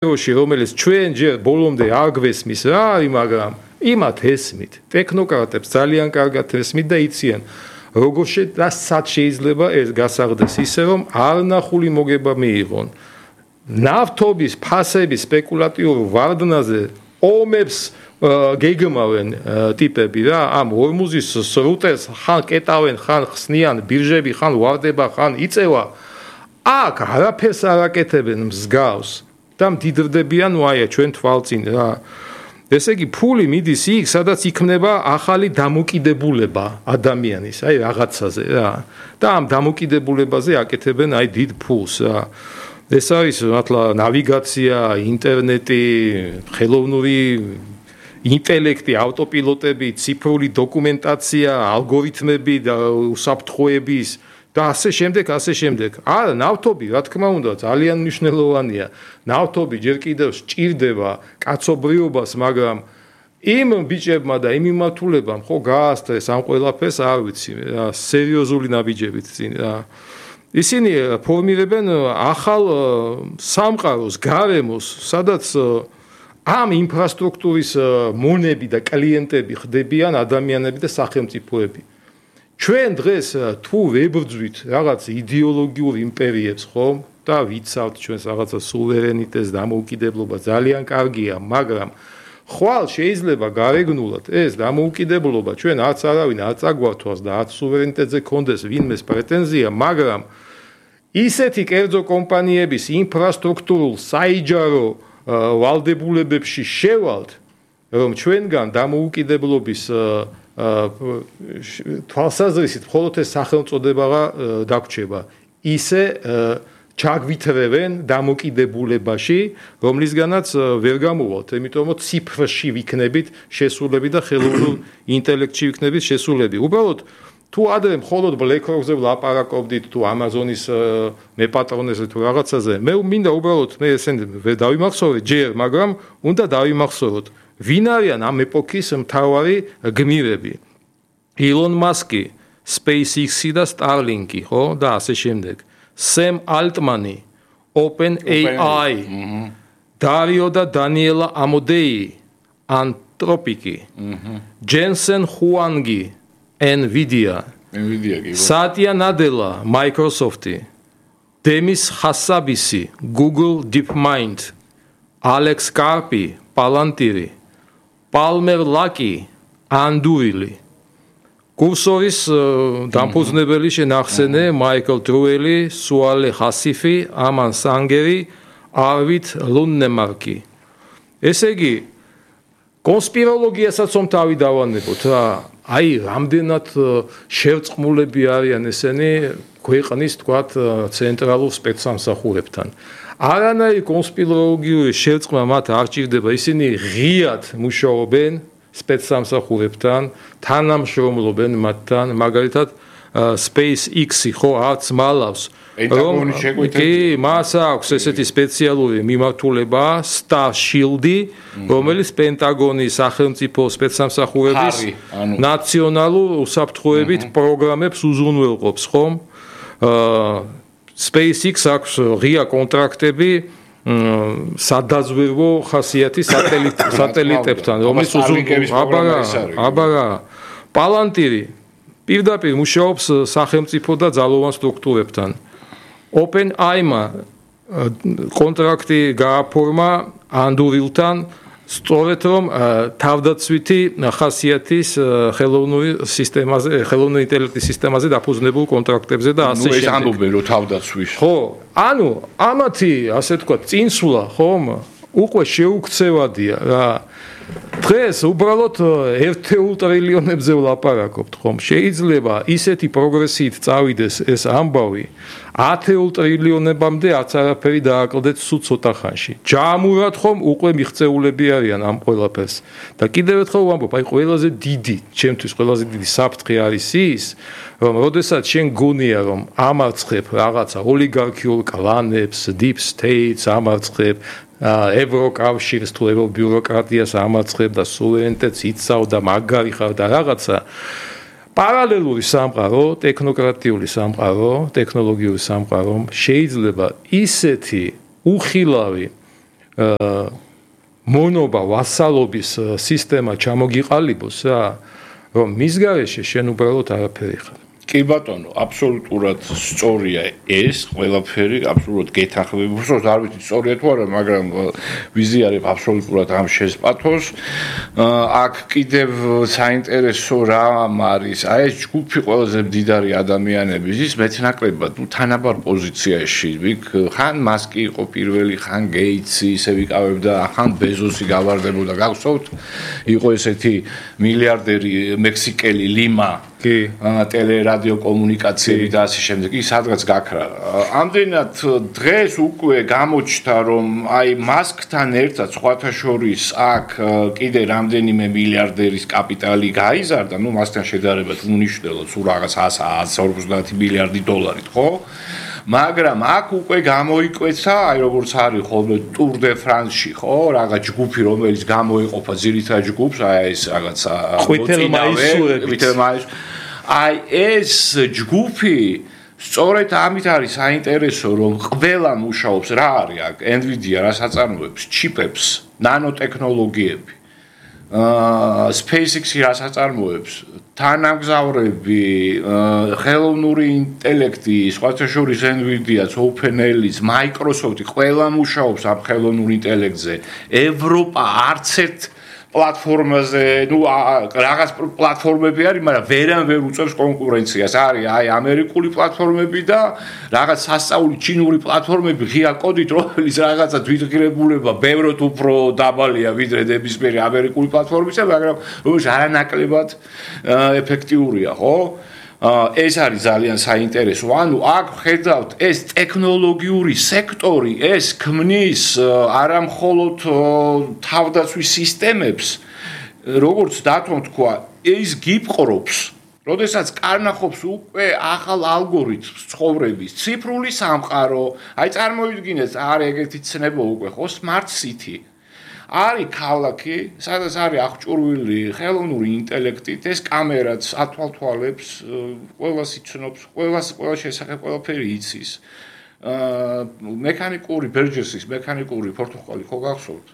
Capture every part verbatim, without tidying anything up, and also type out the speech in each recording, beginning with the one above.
რომელიც ჩვენ ჯერ ბოლომდე არ გვესმის რა არის, მაგრამ იმათ ესმით. ტექნოკრატებს ძალიან კარგად ესმით და იციან, როგორ სად შეიძლება ეს გასაღდეს ისე, რომ არნახული მოგება მიიღონ. ნავთობის ფასების სპეკულატიურ ვარდნაზე ომებს გეგმავენ ტიპები რა, ამ ორმუზის სრუტეს ხან კეტავენ, ხან ხსნიან ბირჟები, ხან ვარდება, ხან იწევა. აქ არაფერს არ აკეთებენ მსგავს. და მდიდრდებიან ვაია ჩვენ თვალწინ რა. ესე იგი ფული მიდის იქ, სადაც იქმნება ახალი დამოკიდებულება ადამიანის, აი რაღაცაზე რა. და ამ დამოკიდებულებაზე აკეთებენ აი დიდ ფულს რა. ეს არის მართლა ნავიგაცია, ინტერნეტი, ხელოვნური ინტელექტი, ავტოპილოტები, ციფრული დოკუმენტაცია, ალგორითმები და უსაფრთხოების და ასე შემდეგ, ასე შემდეგ. არა, ნავთობი, რა თქმა უნდა, ძალიან მნიშვნელოვანია. ნავთობი ჯერ კიდევ სჭირდება კაცობრიობას, მაგრამ იმ ბიჭებმა და იმ მიმართულებამ ხო გაასწრეს ამ ყველაფერს, არ ვიცი, რა, სერიოზული ნაბიჯებით წინ რა. ისინი ფორმირებენ ახალ სამყაროს, გარემოს, სადაც ამ ინფრასტრუქტურის მონები და კლიენტები ხდებიან ადამიანები და სახელმწიფოები. ჩვენ დღეს თუ ვებრძვით რაღაც იდეოლოგიურ იმპერიებს, ხომ? და ვიცავთ ჩვენს რაღაცა სუვერენიტეტს, დამოუკიდებლობა ძალიან კარგია, მაგრამ ხვალ შეიძლება გარეგნულად ეს დამოუკიდებლობა ჩვენ არც არავინ არ წაგვართვას და არც სუვერენიტეტზე კონდეს ვინმეს პრეტენზია, მაგრამ ისეთი კერძო კომპანიების ინფრასტრუქტურულ საიჯარო ვალდებულებებში შევალთ, რომ ჩვენგან დამოუკიდებლობის თვალსაზრისით მხოლოდ ეს სახელწოდება დაგვრჩება. ისე ჩაგვითრევენ დამოკიდებულებაში, რომლისგანაც ვერ გამოვალთ, იმიტომ რომ ციფრში ვიქნებით შესულები და ხელოვნურ ინტელექტში ვიქნებით შესულები. უბრალოდ თუ ადრე მხოლოდ BlackRock-ზე ვლაპარაკობდით, თუ Amazon-ის მეპატრონეზე თუ რაღაცაზე, მე მინდა უბრალოდ მე ესენ ვერ დავიმახსოვრე ჯერ, მაგრამ უნდა დავიმახსოვროთ. ვინ არიან ამ ეპოქის მთავარი გმირები? Elon Musk-ი, SpaceX-ი და Starlink-ი, ხო? და ასე შემდეგ. Sam Altman-ი, OpenAI, Dario და Daniela Amodei, Anthropic-ი, Jensen Huang-ი, Nvidia, Satya Nadella, Microsoft-ი, Demis Hassabis-ი, Google DeepMind, Alex Karp-ი, Palantir-ი, Palmer Luckey, Anduril, კურსორის დამფუძნებელი შენახსენე მაიკლ ტრუელი, სუალე ხასიფი, ამან სანგერი, არვით ლუნნემარკი. ესე იგი, კონსპიროლოგიასაც რომ თავი დავანებოთ რა, აი რამდენად შევწყმულები არიან ესენი ქვეყნის თქვათ ცენტრალურ სპეცსამსახურებთან. არანაირი კონსპიროლოგიური შევწყმა მათ არ ჭირდება, ისინი ღიად მუშაობენ სპეცსამსახურებთან, თანამშრომლობენ მათთან, მაგალითად SpaceX-ი ხო არც მალავს, რომ კი მას აქვს ესეთი სპეციალური მიმართულება Star Shield-ი, რომელიც პენტაგონის სახელმწიფო სპეცსამსახურების ნაციონალურ უსაფრთხოებით პროგრამებს უზრუნველყოფს, ხომ? SpaceX აქვს ღია კონტრაქტები სადაზვერვო ხასიათის სატელიტებთან, რომელიც უზრუნველყოფს. აბარა, Palantir-ი პირდაპირ მუშაობს სახელმწიფო და ძალოვან სტრუქტურებთან. OpenAI-მა კონტრაქტი გააფორმა Anduril-თან, სწორედ რომ თავდაცვითი ხასიათის ხელოვნური სისტემაზე, ხელოვნური ინტელექტის სისტემაზე დაფუძნებულ კონტრაქტებზე და ასე შემდეგ. ნუ ეს ამბობენ რომ თავდაცვის. ხო, ანუ ამათი, ასე თქვა, წინსვლა, ხომ, უკვე შეუქცევადია რა. დღეს უბრალოდ ერთეულ ტრილიონებზე ვლაპარაკობთ, ხომ? შეიძლება ისეთი პროგრესიით წავიდეს ეს ამბავი, ათეულ ტრილიონებამდე არც არაფერი დააკლდეთ სულ ცოტა ხანში. ჯამურად ხომ უკვე მიღწეულები არიან ამ ყველაფერს. და კიდევ ერთხელ ვამბობ, აი ყველაზე დიდი, ჩემთვის ყველაზე დიდი საფრთხე არის ის, რომ როდესაც შენ გონია რომ ამარცხებ რაღაცა ოლიგარქიულ კლანებს, deep states ამარცხებ, ევროკავშირს თუ ევრობიუროკრატიას ამარცხებ და სუვერენიტეტს იცავ და მაგარი ხარ და რაღაცა პარალელური სამყარო, ტექნოკრატიული სამყარო, ტექნოლოგიური სამყარო შეიძლება ისეთი უხილავი მონობა ვასალობის სისტემა ჩამოგიყალიბოს რა რომ მის გარეშე შენ უბრალოდ არაფერი ხარ კი ბატონო, აბსოლუტურად სწორია ეს ყველაფერი, აბსოლუტურად გეთანხმები. უბრალოდ არ ვიცი სწორია თუ არა, მაგრამ ვიზიარებ აბსოლუტურად ამ შესპათოს. აქ კიდევ საინტერესო რამ არის, აი ეს ჯგუფი ყველაზე მდიდარი ადამიანების ის მეტნაკლებად ნუ თანაბარ პოზიციაში, ვიქ ხან მასკი იყო პირველი, ხან გეიცი ისე ვიკავებდა, ხან ბეზოსი გავარდებოდა, გახსოვთ? იყო ესეთი მილიარდერი მექსიკელი ლიმა კი ტელერადიო კომუნიკაციები და ასე შემდეგ ის სადღაც გაქრა. ამდენად დღეს უკვე გამოჩნდა რომ აი მასკთან ერთად სხვათა შორის აქ კიდე რამდენიმე მილიარდერის კაპიტალი გაიზარდა, ну მასთან შედარებით უნიშნელო თუ რაღაც ათას ორმოცდაათი მილიარდი დოლარით, ხო? მაგრამ აქ უკვე გამოიკვეცა, აი როგორც არის ხოლმე ტურ დე ფრანსში, ხო? რაღაც ჯგუფი რომელიც გამოიყოფა ძირითად ჯგუფს, აი ეს რაღაცა ხვითელმაისურებით. აი ეს ჯგუფი სწორედ ამით არის საინტერესო რომ ყველა მუშაობს რა არის აქ NVIDIA რას აწარმოებს ჩიპებს ნანოტექნოლოგიები აა SpaceX-ი რას აწარმოებს თანამგზავრები ხელოვნური ინტელექტი სხვათა შორის NVIDIA-ც OpenAI-ც Microsoft-ი ყველა მუშაობს ამ ხელოვნურ ინტელექტზე ევროპა არც ერთ პლატფორმაზე, ну, რაღაც პლატფორმები არის, მაგრამ ვერან ვერ უწევს კონკურენციას. არის აი ამერიკული პლატფორმები და რაღაც სასწაული ჩინური პლატფორმები ღია კოდით, რომელიც რაღაცა თვითღირებულება ბევრად უფრო დაბალია ვიდრე ნებისმიერი ამერიკული პლატფორმისა, მაგრამ რომელიც არანაკლებად ეფექტიურია, ხო? ეს არის ძალიან საინტერესო. ანუ აქ ხედავთ ეს ტექნოლოგიური სექტორი, ეს ქმნის არა მხოლოდ თავდაცვის სისტემებს, როგორც დათომ თქვა, ის გიპყრობს, როდესაც კარნახობს უკვე ახალ ალგორითმს ცხოვრების, ციფრული სამყარო, აი წარმოიდგინეთ, არის ეგეთი ცნება უკვე, ხო, smart city. არის ქალაქი, სადაც არის აღჭურვილი ხელოვნური ინტელექტით, ეს კამერაც ათვალთვალებს, ყველას იცნობს, ყველას ყველა შესახებ ყველაფერი იცის. აა მექანიკური ბერჯესის მექანიკური პორტუგალი ხო გახსოვთ?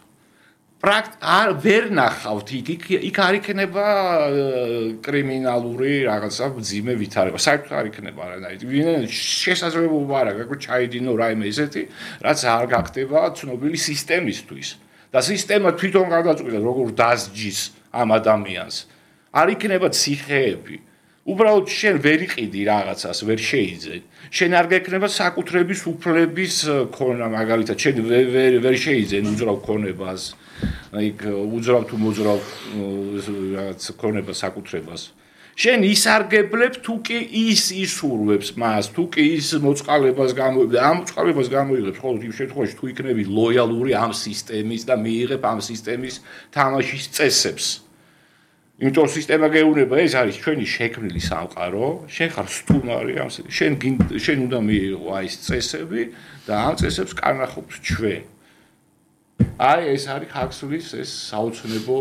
პრაქტ არ ვერ ნახავთ იქ იქ არ იქნება კრიმინალური რაღაცა ძიმე ვითარება. საერთოდ არ იქნება არანაირი. შესაძლებლობა არ აქვს, რომ ჩაიდინო რაიმე ესეთი, რაც არ გახდება ცნობილი სისტემისთვის. და სისტემა თვითონ გადაწყვიტა როგორ დასჯის ამ ადამიანს. არ იქნება ციხეები. უბრალოდ შენ ვერ იყიდი რაღაცას, ვერ შეიძენ. შენ არ გექნება საკუთრების უფლების ქონა, მაგალითად, შენ ვერ ვერ შეიძენ უძრავ ქონებას. აი უძრავ თუ მოძრავ რაღაც ქონება საკუთრებას. შენ ისარგებლებ თუ კი ის ისურვებს მას, თუ კი ის მოწყალებას გამოიღებს, ამ მოწყალებას გამოიღებს მხოლოდ იმ შემთხვევაში თუ იქნები ლოიალური ამ სისტემის და მიიღებ ამ სისტემის თამაშის წესებს. იმიტომ სისტემა გეუბნება, ეს არის ჩვენი შექმნილი სამყარო, შენ ხარ სტუმარი ამ შენ შენ უნდა მიიღო აი ეს წესები და ამ წესებს კარნახობს ჩვენ. აი ეს არის ხაქსულის ეს საოცნებო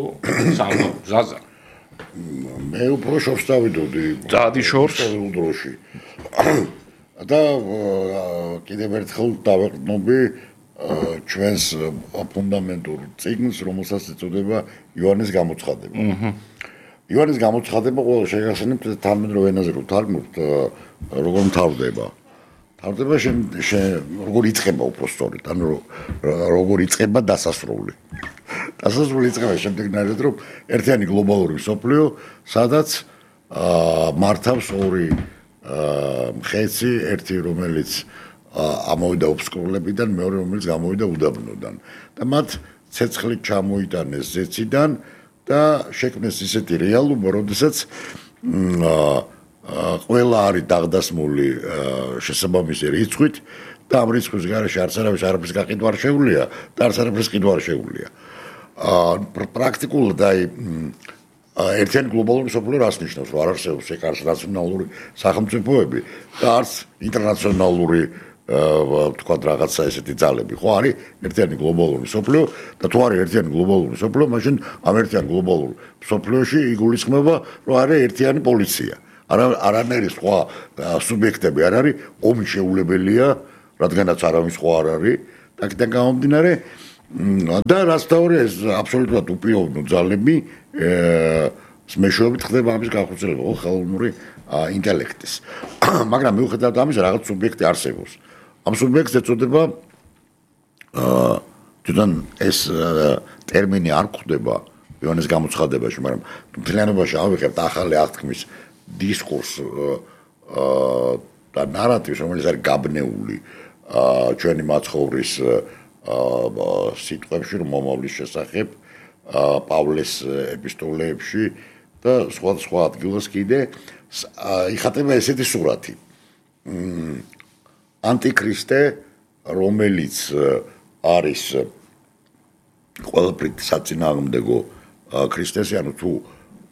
სამყარო, ზაზა. მე უფრო შორს დავიდოდი დადი შორს დროში და კიდევ ერთხელ დავეყრდნობი ჩვენს ფუნდამენტურ წიგნს რომელსაც ეწოდება იოანეს გამოცხადება იოანეს გამოცხადება ყველა შეგახსენებთ თანამედროვე ენაზე რომ თარგმნოთ როგორ მთავრდება თარგმნება შენ როგორ იწყება უფრო სწორედ ანუ როგორ იწყება დასასრული დასასრული იწყება შემდეგნაირად რომ ერთიანი გლობალური მსოფლიო სადაც მართავს ორი მხეცი ერთი რომელიც ამოვიდა ოფსკრულებიდან მეორე რომელიც გამოვიდა უდაბნოდან და მათ ცეცხლით ჩამოიტანეს ზეციდან და შექმნეს ისეთი რეალობა როდესაც ყველა არის დაღდასმული შესაბამისი რიცხვით და ამ რიცხვის გარეშე არც არავის არაფრის გაყიდვა არ შეუძლია და არც არაფრის ყიდვა არ შეუძლია. პრაქტიკულად აი ერთიანი გლობალური მსოფლიო რას ნიშნავს, რომ არ არსებობს ეგ არც ნაციონალური სახელმწიფოები და არც ინტერნაციონალური თქვა რაღაცა ესეთი ძალები, ხო არის ერთიანი გლობალური მსოფლიო და თუ არის ერთიანი გლობალური მსოფლიო, მაშინ ამ ერთიან გლობალურ მსოფლიოში იგულისხმება, რომ არის ერთიანი პოლიცია. არა არანაირი სხვა სუბიექტები არ არის, ომი შეუძლებელია, რადგანაც არავის სხვა არ არის, და აქედან გამომდინარე და რაც თავია ეს აბსოლუტურად უპირობნო ძალები მეშვეობით ხდება ამის განხორციელება ხო ხელოვნური ინტელექტის. მაგრამ მიუხედავად ამისა რაღაც სუბიექტი არსებობს. ამ სუბიექტს ეწოდება აა თვითონ ეს ტერმინი არ გვხვდება იონეს გამოცხადებაში, მაგრამ მთლიანობაში ავიღებთ ახალი აღთქმის დისკურს აა და ნარატივს, რომელიც არის გაბნეული აა ჩვენი მაცხოვრის აა სიტყვებში, რომ მომავლის შესახებ აა პავლეს ეპისტოლეებში და სხვა სხვა ადგილას კიდე იხატება ესეთი სურათი. ანტიქრისტე, რომელიც არის ყველაფრით საწინააღმდეგო ქრისტეს, ანუ თუ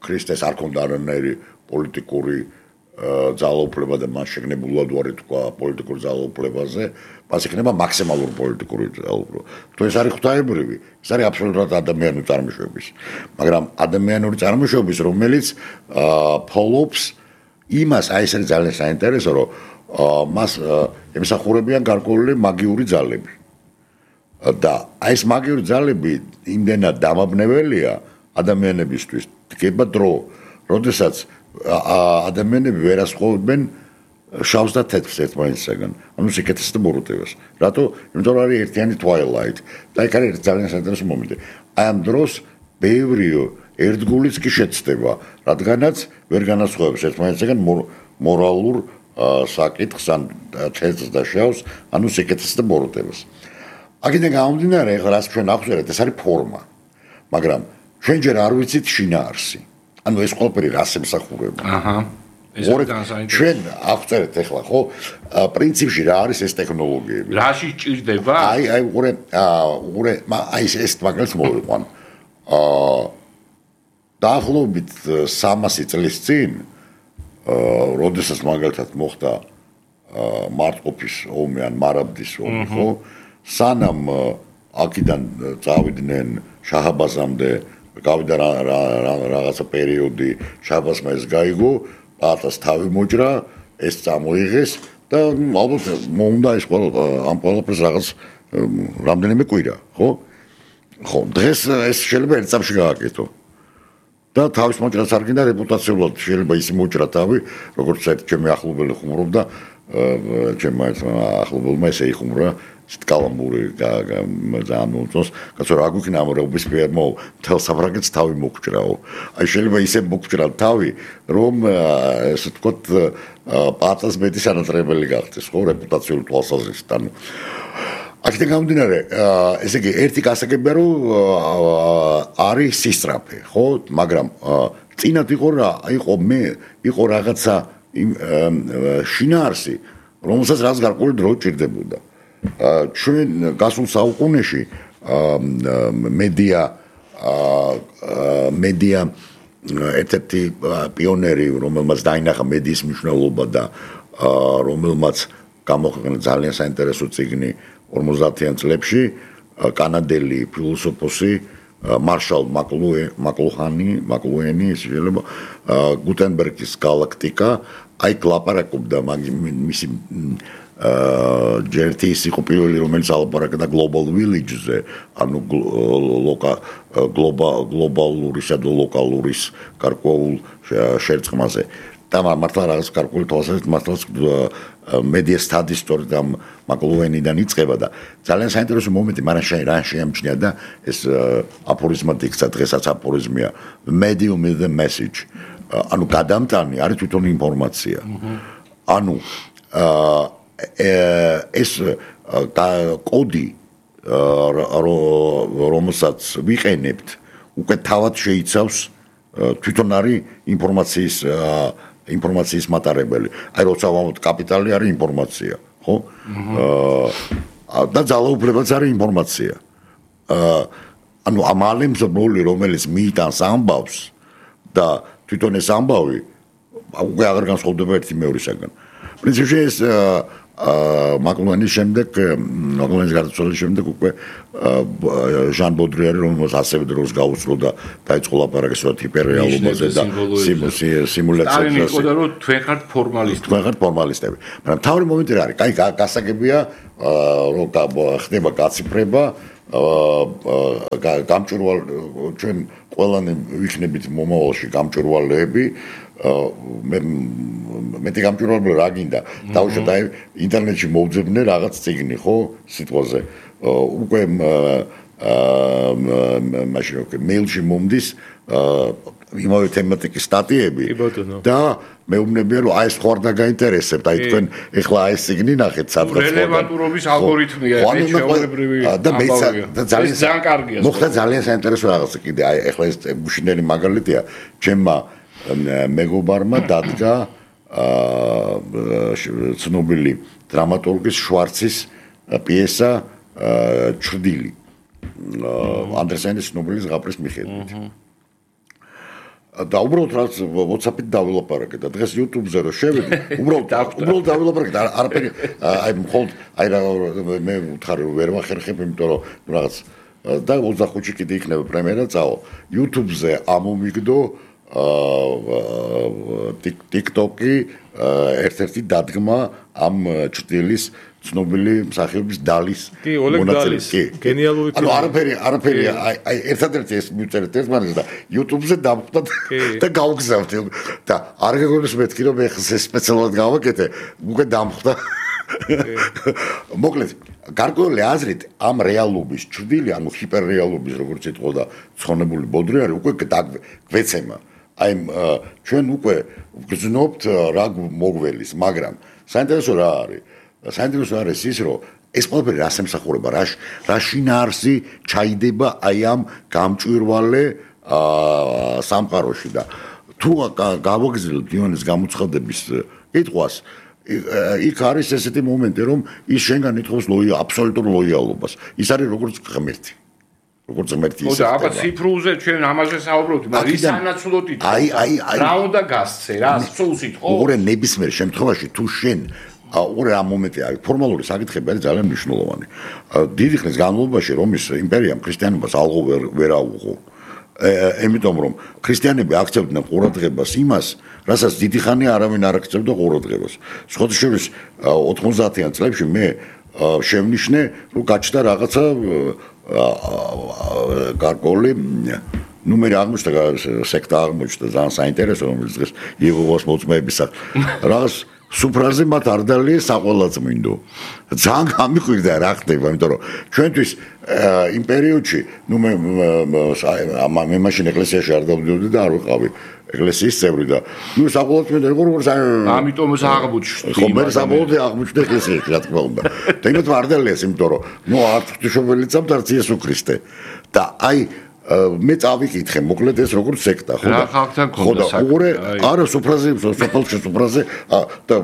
ქრისტეს არ ქონდა არანაირი პოლიტიკური ძალაუფლება და მას შეგნებულად უარი თქვა პოლიტიკურ ძალაუფლებაზე, მას იქნება მაქსიმალური პოლიტიკური ძალაუფლება. თუ ეს არის ღვთაებრივი, ეს არის აბსოლუტურად ადამიანური წარმოშობის. მაგრამ ადამიანური წარმოშობის, რომელიც ფოლობს იმას, აი ეს არის ძალიან საინტერესო, რომ მას ემსახურებიან გარკვეული მაგიური ძალები. და აი ეს მაგიური ძალები იმდენად დამაბნეველია ადამიანებისთვის, დგება დრო, როდესაც ადამიანები ვერ ასხოვებენ შავს და თეთრს ერთმანეთისაგან. ანუ სიკეთეს და ბოროტებას. რატო? იმიტომ რომ არის ერთიანი twilight. და იქ არის ძალიან საინტერესო მომენტი. აი ამ დროს ბევრი ერთგულიც კი შეცდება, რადგანაც ვერ განასხვავებს ერთმანეთისაგან მორალურ საკითხს ან თეთრს და შავს, ანუ სიკეთეს და ბოროტებას. აქედან გამომდინარე, ეხლა რაც ჩვენ აღვწერეთ, ეს არის ფორმა. მაგრამ ჩვენ ჯერ არ ვიცით შინაარსი. ანუ ეს ყველაფერი რას ემსახურება. აჰა. ეს განსაინტერესო. ჩვენ აღვწერეთ ეხლა, ხო, პრინციპში რა არის ეს ტექნოლოგიები. რაში ჭირდება? აი, აი, უყურე, უყურე, აი ეს ეს მაგალითს მოვიყვან. აა დაახლოებით სამასი წლის წინ, აა, როდესაც მაგალითად მოხდა აა მარტყოფის ომი ან მარაბდის ომი, ხო? სანამ აქედან წავიდნენ შაჰაბაზამდე, გავიდა რაღაცა პერიოდი, შაჰაბაზმა ეს გაიგო, პატას თავი მოჭრა, ეს წამოიღეს და ალბათ მომდა ეს ყველა ამ ყველაფერს რაღაც რამდენიმე კვირა, ხო? ხო, დღეს ეს შეიძლება ერთ წამში გააკეთო. და თავის მოჭრას არ გინდა რეპუტაციულად შეიძლება ისე მოჭრა თავი, როგორც ერთ ჩემი ახლობელი ხუმრობდა, ჩემმა ახლობელმა ესე იხუმრა კალამბური ძალიან მოუწონს, კაცო რა გვიქნა ამ რობისფიერ მო მთელ საფრანგეთს თავი მოგჭრაო. აი შეიძლება ისე მოგჭრა თავი, რომ ესე ვთქვათ პატას მეტი სანატრებელი გახდეს, ხო, რეპუტაციული თვალსაზრისით. ანუ აქედან გამომდინარე, ესე იგი ერთი გასაგებია, რომ არის სისწრაფე, ხო, მაგრამ წინათ იყო რა, იყო მე, იყო რაღაცა შინაარსი, რომელსაც რაც გარკვეული დრო ჭირდებოდა. ჩვენ გასულ საუკუნეში მედია მედია ერთ-ერთი პიონერი, რომელმაც დაინახა მედიის მნიშვნელობა და რომელმაც გამოაქვეყნა ძალიან საინტერესო წიგნი ორმოცდაათიან წლებში, კანადელი ფილოსოფოსი მარშალ მაკლუჰანი, მაკლუენი, შეიძლება გუტენბერგის გალაქტიკა, აი ლაპარაკობდა მისი ჯერ ის იყო პირველი, რომელიც ალაპარაკდა global village-ზე, ანუ გლობალურისა და ლოკალურის გარკვეულ შერწყმაზე. და მართლა რაღაც გარკვეული თვალსაზრისით მართლა media studies story და მაკლუენიდან იწყება და ძალიან საინტერესო მომენტი, მაგრამ რა შეამჩნია და ეს აფორიზმად იქცა, დღესაც აფორიზმია, medium is the message. ანუ გადამტანი არის თვითონ ინფორმაცია. ანუ ეს კოდი რომელსაც ვიყენებთ უკვე თავად შეიცავს თვითონ არის ინფორმაციის ინფორმაციის მატარებელი. აი როცა ვამბობთ კაპიტალი არის ინფორმაცია, ხო? აა და ძალაუფლებაც არის ინფორმაცია. აა ანუ ამალემ ზმული რომელიც მიიტანს ამბავს და თვითონ ეს ამბავი უკვე აღარ განსხვავდება ერთი მეორისაგან. პრინციპში ეს აა მაკლუენის შემდეგ, მაკლუენის გარდაცვალების შემდეგ უკვე ჟან ბოდრიარი, რომელსაც ასევე დროს გაუძლო და დაიწყო ლაპარაკი სწორედ ჰიპერრეალობაზე და სიმულაციაზე. არის იყო და რომ თქვენ ხართ ფორმალისტები. თქვენ ხართ ფორმალისტები. მაგრამ თავი მომენტი რა არის? კაი გასაგებია, რომ ხდება გაციფრება გამჭვირვალ ჩვენ ყველანი ვიქნებით მომავალში გამჭვირვალეები მე მეტი გამჭვირვალე რა გინდა დავუშვათ აი ინტერნეტში მოვძებნე რაღაც წიგნი ხო სიტყვაზე უკვე მაშინ უკვე მეილში მომდის იმავე თემატიკის სტატიები და მეუბნებია რომ აი ეს ხوار და გაინტერესებთ აი თქვენ ეხლა აი ეს წიგნი ნახეთ სადღაც რელევანტურობის ალგორითმია ეს შეულებრივი და ძალიან ძალიან კარგია მოხდა ძალიან საინტერესო რაღაცა კიდე აი ეხლა ეს მუშინელი მაგალითია ჩემმა მეგობარმა დადგა ცნობილი დრამატურგის შვარცის პიესა ჩრდილი ანდერსენის ცნობილი ზღაპრის მიხედვით და უბრალოდ რაც WhatsApp-ით დავილაპარაკე და დღეს YouTube-ზე რო შევედი, უბრალოდ უბრალოდ დავილაპარაკე და არაფერი აი მხოლოდ აი მე ვუთხარი რომ ვერ ვახერხებ, იმიტომ რომ რაღაც და ოცდახუთში კიდე იქნება პრემიერა წავალ. YouTube-ზე ამომიგდო TikTok-ი ერთ-ერთი დადგმა ამ ჭრდილის ცნობილი მსახიობის დალის მონაწილეს. გენიალური ანუ არაფერი არაფერი აი ერთადერთი ეს მივწერეთ ერთმანეთს და YouTube-ზე დავხვდა და გავგზავნით და არ გეგონოს მეთქი რომ ეხლა ეს სპეციალურად გავაკეთე უკვე დამხვდა. მოკლედ გარკვეული აზრით ამ რეალობის ჭრდილი ანუ ჰიპერრეალობის როგორც იტყოდა ცხონებული ბოდრი არის უკვე გვეცემა. აი ჩვენ უკვე გძნობთ რა მოგველის, მაგრამ საინტერესო რა არის? საინტერესო არის ის, რომ ეს ყველაფერი რას ემსახურება, რა რა შინაარსი ჩაიდება აი ამ გამჭვირვალე სამყაროში და თუ გავაგზავნოთ იონის გამოცხადების კითხვას, იქ არის ესეთი მომენტი, რომ ის შენგან ითხოვს ლოია აბსოლუტურ ლოიალობას. ის არის როგორც ღმერთი. როგორც ღმერთი ის. ხო და აბა ციფრულზე ჩვენ ამაზე საუბრობთ, მაგრამ ის ანაცვლოდ ითხოვს. აი აი აი რა უნდა გასცე, რა სულს ითხოვს. უყურე ნებისმიერ შემთხვევაში თუ შენ უყურე ამ მომენტი არის ფორმალური საკითხები არის ძალიან მნიშვნელოვანი. დიდი ხნის განმავლობაში რომის იმპერიამ ქრისტიანობას ალღო ვერ აუღო. ემიტომ რომ ქრისტიანები აქცევდნენ ყურადღებას იმას, რასაც დიდი ხანი არავინ არ აქცევდა ყურადღებას. სხვათა შორის ოთხმოცდაათიან წლებში მე შევნიშნე, რომ გაჩნდა რაღაცა გარკვეული ნუ მე აღმოჩნდა სექტა აღმოჩნდა ძალიან საინტერესო რომელიც დღეს იეჰოვას მოწმეების რაღაც სუფრაზე მათ არ დალიე საყვალაწმინდო. ძალიან გამიხვირდა რა ხდება, იმიტომ რომ ჩვენთვის იმ პერიოდში, ნუ მე მე მაშინ ეკლესიაში არ დავდიოდი და არ ვიყავი ეკლესიის წევრი და ნუ საყვალაწმინდო იყო როგორც ამიტომ აღმოჩნდა. ხო, მე საბოლოოდ აღმოჩნდა ეკლესიაში, რა თქმა უნდა. და იმათ არ დალიეს, იმიტომ რომ ნუ არც ღვთისმშობელი წამთ, არც იესო ქრისტე. და აი მე წავიკითხე, მოკლედ ეს როგორც სექტა, ხო და ხო და უყურე, არა სუფრაზე, სოფელში სუფრაზე და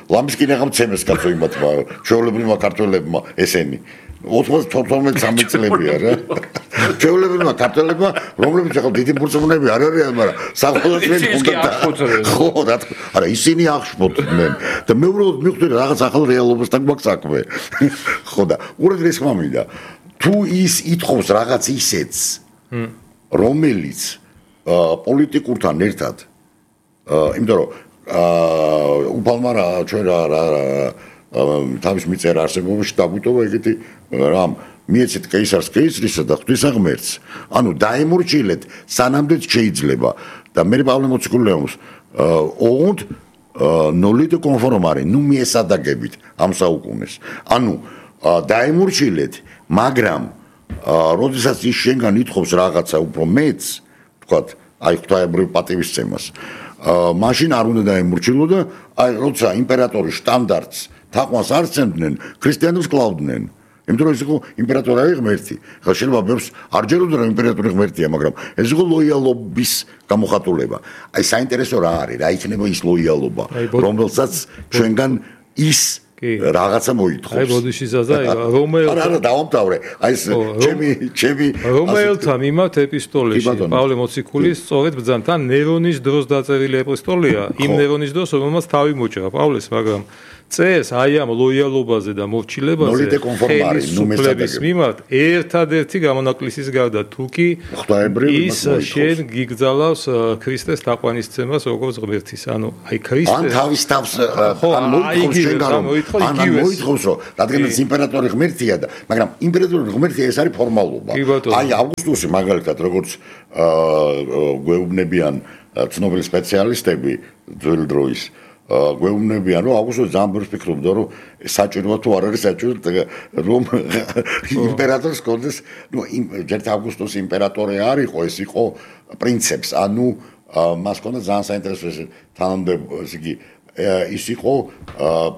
ლამისკინე გამცემეს კაცო იმათ ჩვეულებრივმა ქართველებმა ესენი. ოცდათოთხმეტ წამიწლებია რა. ჩვეულებრივმა ქართველებმა, რომლებიც ახლა დიდი მორწმუნეები არ არიან, მაგრამ საყვალაწმინდო უნდა ხო რა არა ისინი აღშფოთდნენ და მე უბრალოდ მივხვდი რაღაც ახალ რეალობასთან გვაქვს საქმე. ხო და უყურეთ ეს ხმა მინდა. თუ ის ითხოვს რაღაც ისეთს რომელიც პოლიტიკურთან ერთად იმიტომ რომ უფალმა რა ჩვენ რა თავის მიწერა არსებობაში დაგვიტოვა ეგეთი რამ მიეცეთ კეისარს კეისრისა და ღვთისაღმერთს ანუ დაემორჩილეთ სანამდეც შეიძლება და მე პავლე მოციქულიაუს und nolite conformare nu მიესადაგებით ამ საუკუნეს ანუ დაემორჩილეთ მაგრამ როდესაც ის შენგან ითხოვს რაღაცა უფრო მეც, თქვათ, აი ღვთაებრივ პატივისცემას, მაშინ არ უნდა დაემორჩილო და აი როცა იმპერატორის სტანდარტს თაყვანს არ სცემდნენ, ქრისტიანებს კლავდნენ. იმიტომ რომ ეს იყო იმპერატორი არის ღმერთი. ხა შეიძლება ბევრს არ ჯეროდა რომ იმპერატორი ღმერთია, მაგრამ ეს იყო ლოიალობის გამოხატულება. აი საინტერესო რა არის, რა იქნება ის ლოიალობა, რომელსაც ჩვენგან ის რაღაცა მოითხოვს. აი ბოდიში ზაზა, რომელ არა, არა, დავამთავრე. აი ეს ჩემი ჩემი რომელთა მიმართ ეპისტოლეში პავლე მოციქულის სწორედ ბრძანთან ნერონის დროს დაწერილი ეპისტოლეა, იმ ნერონის დროს, რომელმაც თავი მოჭრა პავლეს, მაგრამ წერს აი ამ ლოიალობაზე და მორჩილებაზე ხელისუფლების მიმართ ერთადერთი გამონაკლისის გარდა თუკი ის შენ გიგზალავს ქრისტეს თაყვანისცემას როგორც ღმერთის ანუ აი ქრისტე ან თავის თავს ან მოითხოვს შენგან რომ ან მოითხოვს რომ რადგანაც იმპერატორი ღმერთია და მაგრამ იმპერატორი ღმერთია ეს არის ფორმალობა აი ავგუსტუსი მაგალითად როგორც გვეუბნებიან ცნობილი სპეციალისტები ძველი დროის გვეუბნებიან რომ ავგუსტუსი ძალიან ბევრს ფიქრობდა რომ საჭიროა თუ არ არის საჭირო რომ იმპერატორს კონდეს ნუ ჯერ ავგუსტუსი იმპერატორი არ იყო ეს იყო პრინცეპს ანუ მას კონდა ძალიან საინტერესო ეს თანამდებობა ის იგი ის იყო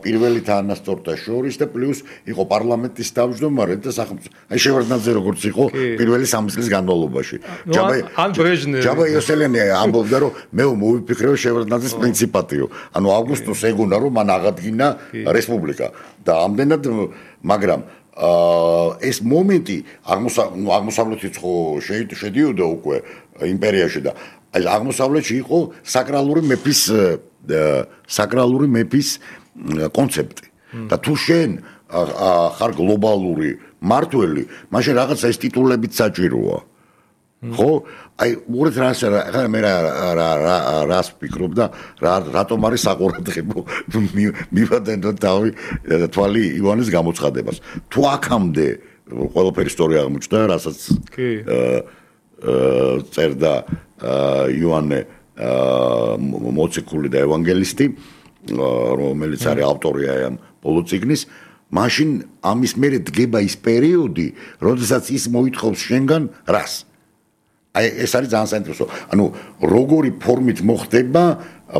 პირველი თანასწორთა შორის და პლუს იყო პარლამენტის თავმჯდომარე და სახელმწიფო აი შევარდნაძე როგორც იყო პირველი სამი წლის განმავლობაში ჯაბა ან ბრეჟნევი ჯაბა იოსელიანი ამბობდა რომ მე მოვიფიქრე შევარდნაძის პრინციპატიო ანუ ავგუსტუს ეგონა რომ მან აღადგინა რესპუბლიკა და ამდენად მაგრამ ეს მომენტი აღმოსავლეთიც ხო შედიოდა უკვე იმპერიაში და აი აღმოსავლეთში იყო საკრალური მეფის საკრალური მეფის კონცეფტი და თუ შენ ხარ გლობალური მართველი მაშინ რაღაცა ეს ტიტულებიც საჭიროა ხო აი უბრალოდ რას ახლა მე რას ვფიქრობ და რატომ არის საყურადღებო მივადენ და თავი თვალი ივანეს გამოცხადებას თუ აქამდე ყველაფერი ისტორია აღმოჩნდა რასაც წერდა იოანე მოციქული და ევანგელისტი რომელიც არის ავტორია ამ ბოლო წიგნის მაშინ ამის მერე დგება ის პერიოდი როდესაც ის მოითხოვს შენგან რას აი ეს არის ძალიან საინტერესო ანუ როგორი ფორმით მოხდება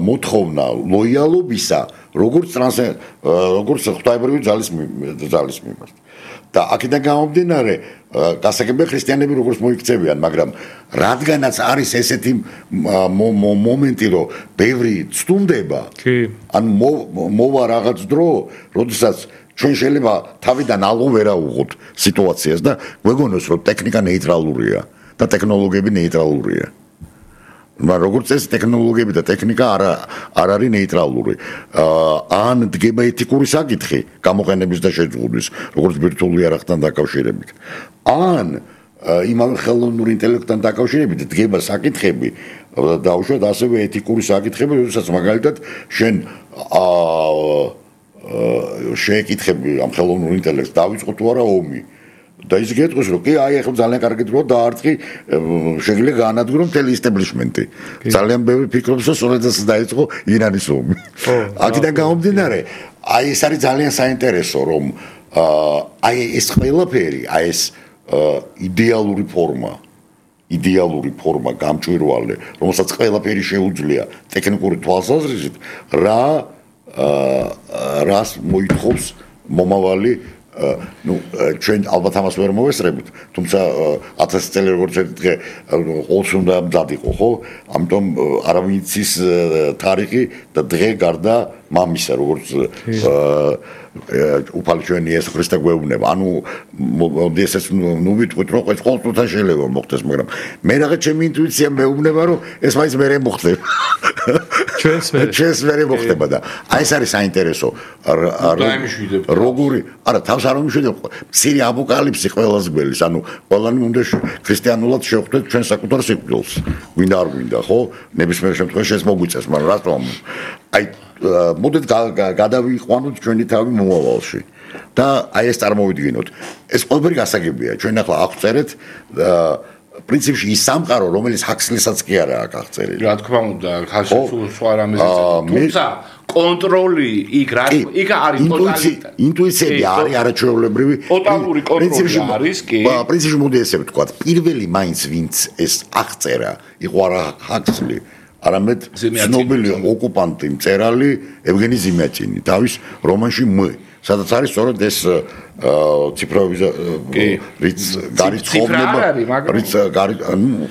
მოთხოვნა ლოიალობისა როგორც როგორც ღვთაებრივი ძალის ძალის მიმართ და აქედან გამომდინარე გასაგებია ქრისტიანები როგორც მოიქცევიან მაგრამ რადგანაც არის ესეთი მომენტი რომ ბევრი ცდუნდება ან მოვა რაღაც დრო როდესაც ჩვენ შეიძლება თავიდან ალღო ვერაუღოთ სიტუაციას და გვეგონოს რომ ტექნიკა ნეიტრალურია და ტექნოლოგიები ნეიტრალურია მაგრამ როგორც ეს ტექნოლოგიები და ტექნიკა არ არ არის ნეიტრალური ან დგება ეთიკური საკითხი გამოყენების და შეძღუნის როგორც ბირთვული იარაღთან დაკავშირებით ან იმავე ხელოვნურ ინტელექტთან დაკავშირებით დგება საკითხები და უშუალოდ ასევე ეთიკური საკითხები როდესაც მაგალითად შენ შეეკითხები ამ ხელოვნურ ინტელექტს დავიწყო თუ არა ომი და ის გეტყვის რომ კი აი ახლა ძალიან კარგი დროა დაარტყი შეიძლება გაანადგურო მთელი ისტაბლიშმენტი ძალიან ბევრი ფიქრობს რომ სწორედაც დაიწყო ირანის ომი აქედან გამომდინარე აი ეს არის ძალიან საინტერესო რომ აი ეს ყველაფერი აი ეს იდეალური ფორმა იდეალური ფორმა გამჭვირვალე რომელსაც ყველაფერი შეუძლია ტექნიკური თვალსაზრისით რა რას მოითხოვს მომავალი ну ჩვენ ალბათ ამას ვერ მოვესწრებით თუმცა ათასი წელი როგორც ერთი დღე ყოველს უნდა მზად იყო ხო ამიტომ არავინ იცის თარიღი და დღე გარდა მამისა როგორც უფალი ჩვენი იესო ქრისტე გვეუბნება ანუ ესეც ნუ ვიტყვით რომ ეს ყოველთვის შეიძლება მოხდეს მაგრამ მე რაღაც ჩემი ინტუიცია მეუბნება რომ ეს მაინც მერე მოხდება ჩვენს მერე ჩვენს მერე მოხდება და აი ეს არის საინტერესო როგორი არა თავს არ მომიშვიდებ მცირე აპოკალიფსი ყველას გველის ანუ ყველანი უნდა ქრისტიანულად შევხვდეთ ჩვენ საკუთარ სიკვდილს გვინდა არ გვინდა ხო ნებისმიერ შემთხვევაში ეს მოგვიწევს მაგრამ რატომ აი მოდით გადავიყვანოთ ჩვენი თავი მომავალში და აი ეს წარმოვიდგინოთ ეს ყველაფერი გასაგებია ჩვენ ახლა აღწერეთ პრინციპში ის სამყარო რომელიც ჰაქსლისაც კი არა აქვს აღწერილი რა თქმა უნდა ხალხი სხვა რამეზეც თუმცა კონტროლი იქ რა იქ არის ტოტალიტარი ინტუიციები არის არაჩვეულებრივი ტოტალური კონტროლი არის კი პრინციპში მოდი ესე ვთქვა პირველი მაინც ვინც ეს აღწერა იყო არა ჰაქსლი არამედ ცნობილი ოკუპანტი მწერალი ევგენი ზიმიაჩინი თავის რომანში მ სადაც არის სწორედ ეს ციფროვი რიც გარიცხობნება რიც გარი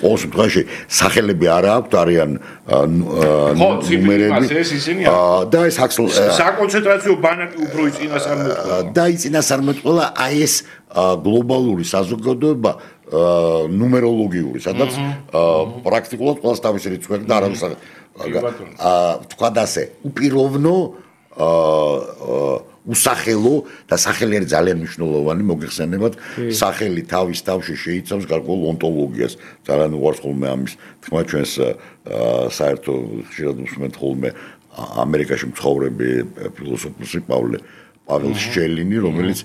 ყოველ შემთხვევაში სახელები არა აქვთ არიან ნუმერები და ეს საკონცენტრაციო ბანაკი უფრო იწინასარმეტყველა და იწინასარმეტყველა აი ეს გლობალური საზოგადოება ნუმეროლოგიური სადაც პრაქტიკულად ყველას თავისი რიცხვი და არავის აა თქვა და ასე უპიროვნო აა უსახელო და სახელი არის ძალიან მნიშვნელოვანი მოგეხსენებათ სახელი თავის თავში შეიცავს გარკვეულ ონტოლოგიას ძალიან უყვარს ხოლმე ამის თქმა ჩვენს საერთო ხშირად უსმენთ ხოლმე ამერიკაში მცხოვრები ფილოსოფოსი პავლე პაվել შჩელინი რომელიც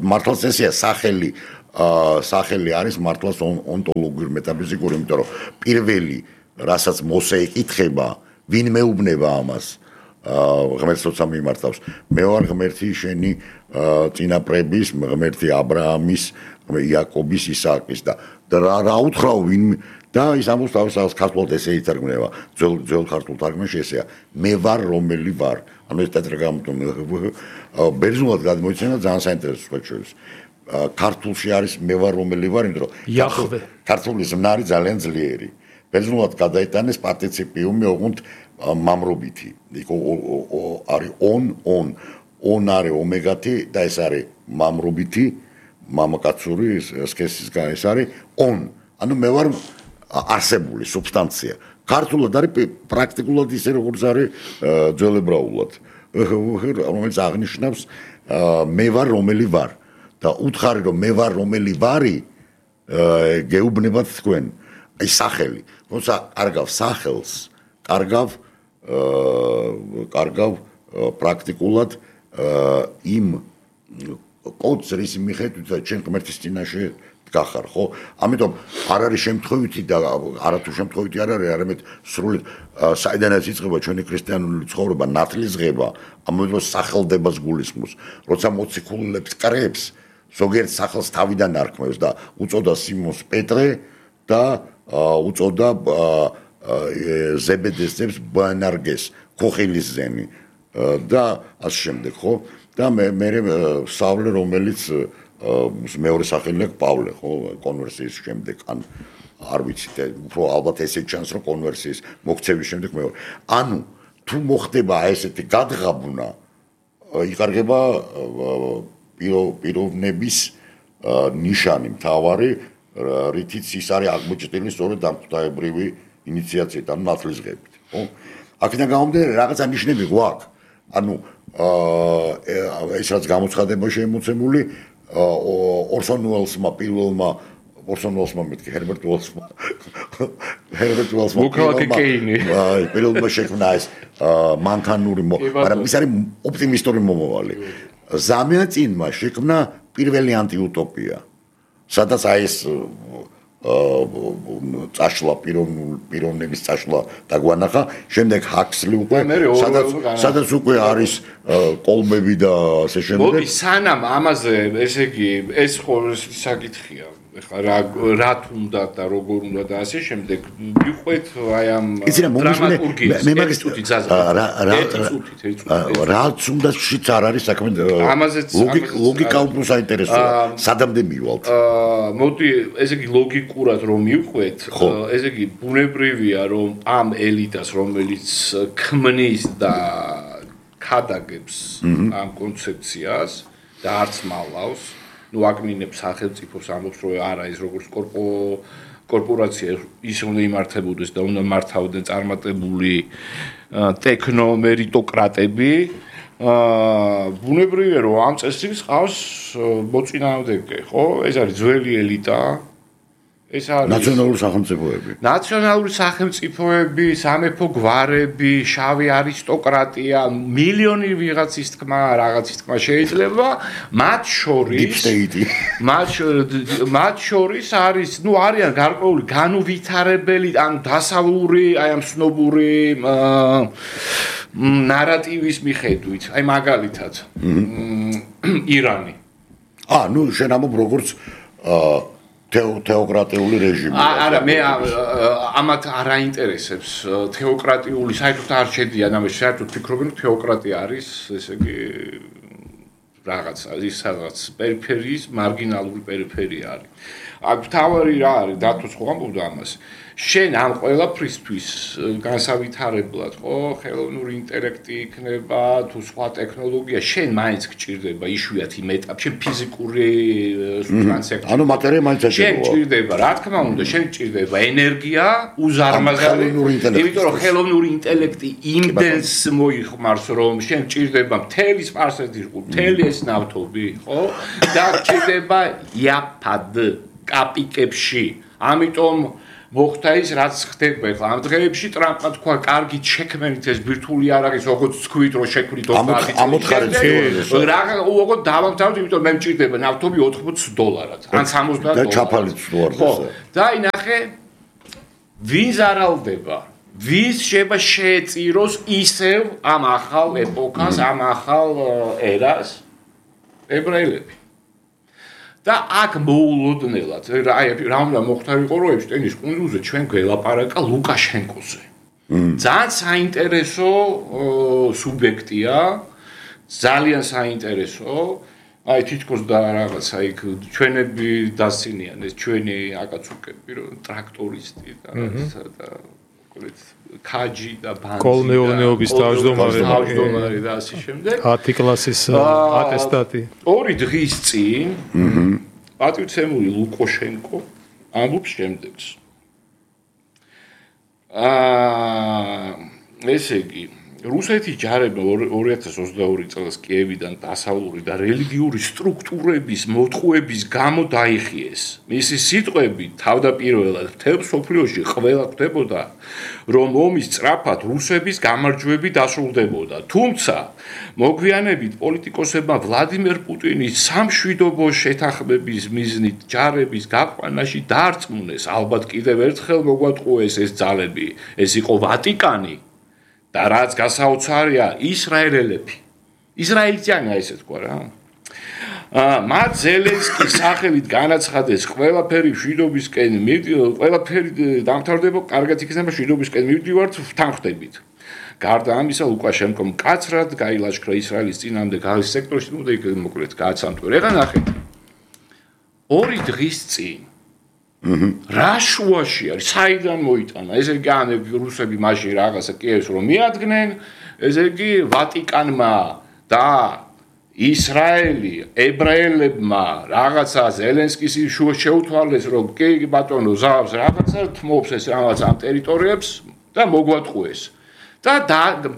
მართლაც ესეა სახელი სახელი არის მართლაც ონტოლოგიური მეტაფიზიკური იმიტომ რომ პირველი რასაც მოსე ეკითხება ვინ მეუბნება ამას ღმერთს როცა მიმართავს მე ვარ ღმერთი შენი წინაპრების ღმერთი ა ブラ ამის იაკობის ისააკის და რა უთხრაო ვინ და ის ამბობს თავის ქართულად ესე ითარგმნება ძველ ძველ ქართულ თარგმანში ესეა მე ვარ რომელი ვარ ანუ ეს ტეტრაგრამატო ბერძნულად გადმოიცემა ძალიან საინტერესო შეჩვევის ქართულში არის მე ვარ რომელი ვარ იმიტომ რომ იახვე ქართული ზმნა არის ძალიან ძლიერი ბერძნულად გადაიტანეს პარტიციპიუმი ოღონდ მამრობითი იქ არის on on on არის ომეგათი და ეს არის მამრობითი მამაკაცური სქესის გან ეს არის on ანუ მე ვარ არსებული სუბსტანცია ქართულად არის პრაქტიკულად ისე როგორც არის ძველებრაულად რომელიც აღნიშნავს მე ვარ რომელი ვარ და უთხარი რომ მე ვარ რომელი ვარი გეუბნებათ თქვენ აი სახელი როცა კარგავ სახელს კარგავ კარგავ პრაქტიკულად იმ კოდს რის მიხედვით ჩვენ ღმერთის წინაშე დგახარ ხო ამიტომ არ არის შემთხვევითი და არათუ შემთხვევითი არ არის არამედ სრულად საიდანაც იწყება ჩვენი ქრისტიანული ცხოვრება ნათლისღება ამიტომ სახელდებას გულისხმობს როცა მოციქულებს კრებს ზოგიერთ სახელს თავიდან არქმევს და უწოდა სიმონს პეტრე და უწოდა ზებედეს ძებს ბანარგეს ხოხილის ზენი და ასე შემდეგ ხო და მე მე სავლე რომელიც მეორე სახელი აქვს პავლე ხო კონვერსიის შემდეგ ან არ ვიცი უფრო ალბათ ესე ჩანს რომ კონვერსიის მოქცევის შემდეგ მეორე ანუ თუ მოხდება ესეთი გადღაბნა იკარგება პიროვნების ნიშანი მთავარი რითიც ის არის აღმოჩენილი სწორედ დამკვდარებრივი ინიციაციით ანუ ნათლისღებით ხო აქედან გამომდინარე რაღაცა ნიშნები გვაქვს ანუ ეს რაც გამოცხადება შემოცემული ორსონ უელსმა პირველმა ორსონ უელსმა მეთქი ჰერბერტ უელსმა ჰერბერტ უელსმა პირველმა შექმნა ეს მანქანური მაგრამ ის არის ოპტიმისტური მომავალი ზამიაწინმა შექმნა პირველი ანტიუტოპია სადაც აი ეს წაშლა პიროვნების წაშლა დაგვანახა შემდეგ ჰაქსლი უკვე სადაც სადაც უკვე არის კოლმები და ასე შემდეგ მოდი სანამ ამაზე ესე იგი ეს ხო საკითხია ეხლა რა რა თუნდა და როგორ უნდა და ასე შემდეგ მიყვეთ აი ამ დრამატურგიას მე მაგის წუთი ზაზა რა რა რაც უნდა შიც არ არის საქმე ლოგიკა უფრო საინტერესოა სადამდე მივალთ მოდი ესე იგი ლოგიკურად რომ მიყვეთ ესე იგი ბუნებრივია რომ ამ ელიტას რომელიც ქმნის და ქადაგებს ამ კონცეფციას და არც მალავს ну აგმინებს სახელმწიფოს ამბობს რომ არა ის როგორც კორპორაცია ის უნდა იმართებოდეს და უნდა მართავდნენ წარმატებული ტექნომერიტოკრატები ბუნებრივია რომ ამ წესრიგს ყავს მოწინააღმდეგე ხო ეს არის ძველი ელიტა ეს არის ნაციონალური სახელმწიფოები ნაციონალური სახელმწიფოები სამეფო გვარები შავი არისტოკრატია მილიონი ვიღაცის თქმა რაღაცის თქმა შეიძლება მათ შორის მათ მათ შორის არის ну არიან გარკვეული განუვითარებელი ან დასავლური აი ამ სნობური ნარატივის მიხედვით აი მაგალითად ირანი ა ну შენ ამობ როგორც თეოკრატიული რეჟიმი. არა, მე ამათ არ აინტერესებს თეოკრატიული, საერთოდ არ შედიან ამაში, საერთოდ ფიქრობენ, რომ თეოკრატია არის, ესე იგი რაღაც ის რაღაც პერიფერიის, მარგინალური პერიფერია არის. აქ თავი რა არის დათოს ხო ამბობდა ამას შენ ამ ყველაფრისთვის განსავითარებლად ხო ხელოვნური ინტელექტი იქნება თუ სხვა ტექნოლოგია შენ მაინც გჭირდება იშვიათი იმ ეტაპში შენ ფიზიკური სუბსტანცია ანუ მატერია მაინც შენ გჭირდება რა თქმა უნდა შენ გჭირდება ენერგია უზარმაზარი იმიტომ რომ ხელოვნური ინტელექტი იმდენს მოიხმარს რომ შენ გჭირდება მთელი სპარსეთი მთელი ეს ნავთობი ხო და გჭირდება იაფად კაპიკებში ამიტომ მოხდა ის რაც ხდება ახლა ამ დღეებში ტრამპმა თქვა კარგი შექმენით ეს ბირთვული არ არის როგორც თქვით რომ შექმნით ამოთხარეთ რა უგო დავამთავრეთ იმიტომ მე მჭირდება ნავთობი ოთხმოცი დოლარად ან სამოცდაათ და ჩაფალიც ვარდეს და ინახე ვინ ზარალდება ვის შეიძლება შეეწიროს ისევ ამ ახალ ეპოქას ამ ახალ ერას ებრაელები და აქ მოულოდნელად აი რა უნდა მოხდა იყო რომ ეპშტეინის კუნძულზე ჩვენ გველაპარაკა ლუკაშენკოზე ძალიან საინტერესო სუბიექტია ძალიან საინტერესო აი თითქოს და რაღაცა იქ ჩვენები დასცინიან ეს ჩვენი აკაცუკები რომ ტრაქტორისტი და რაღაცა და მოკლედ ქაჯი და ბანძი კოლმეურნეობის თავმჯდომარე თავმჯდომარე და ასე შემდეგ ათი კლასის ატესტატი ორი დღის წინ პატივცემული ლუკაშენკო ამბობს შემდეგს აა ესე იგი რუსეთის ჯარებმა ორი ათას ოცდაორი წელს კიევიდან დასავლური და რელიგიური სტრუქტურების მოტყუების გამო დაიხიეს. მისი სიტყვები თავდაპირველად მთელ მსოფლიოში ყველა ხვდებოდა, რომ ომის სწრაფად რუსების გამარჯვებით დასრულდებოდა. თუმცა მოგვიანებით პოლიტიკოსებმა ვლადიმერ პუტინის სამშვიდობო შეთანხმების მიზნით ჯარების გაყვანაში დაარწმუნეს, ალბათ კიდევ ერთხელ მოგვატყუეს ეს ძალები, ეს იყო ვატიკანი. და რაც გასაოცარია ისრაელელები ისრაელიანია ესე თქვა რა აა მათ ზელენსკის სახელით განაცხადეს ყველაფერი მშვიდობისკენ ყველაფერი დამთავრდება კარგად იქნება მშვიდობისკენ მივდივართ თანხდებით გარდა ამისა ლუკაშენკომ მკაცრად გაილაშქრა ისრაელის წინამდე გალის სექტორში უნდა იქ მოკლედ გააცანტვირა ეხლა ნახეთ ორი დღის წინ რა შუაში არის საიდან მოიტანა ესე იგი ან რუსები მაშინ რაღაცა კიევს რომ მიადგნენ ესე იგი ვატიკანმა და ისრაელი ებრაელებმა რაღაცა ზელენსკის შეუთვალეს რომ კი ბატონო ზავს რაღაცა თმობს ეს რაღაც ამ ტერიტორიებს და მოგვატყუეს და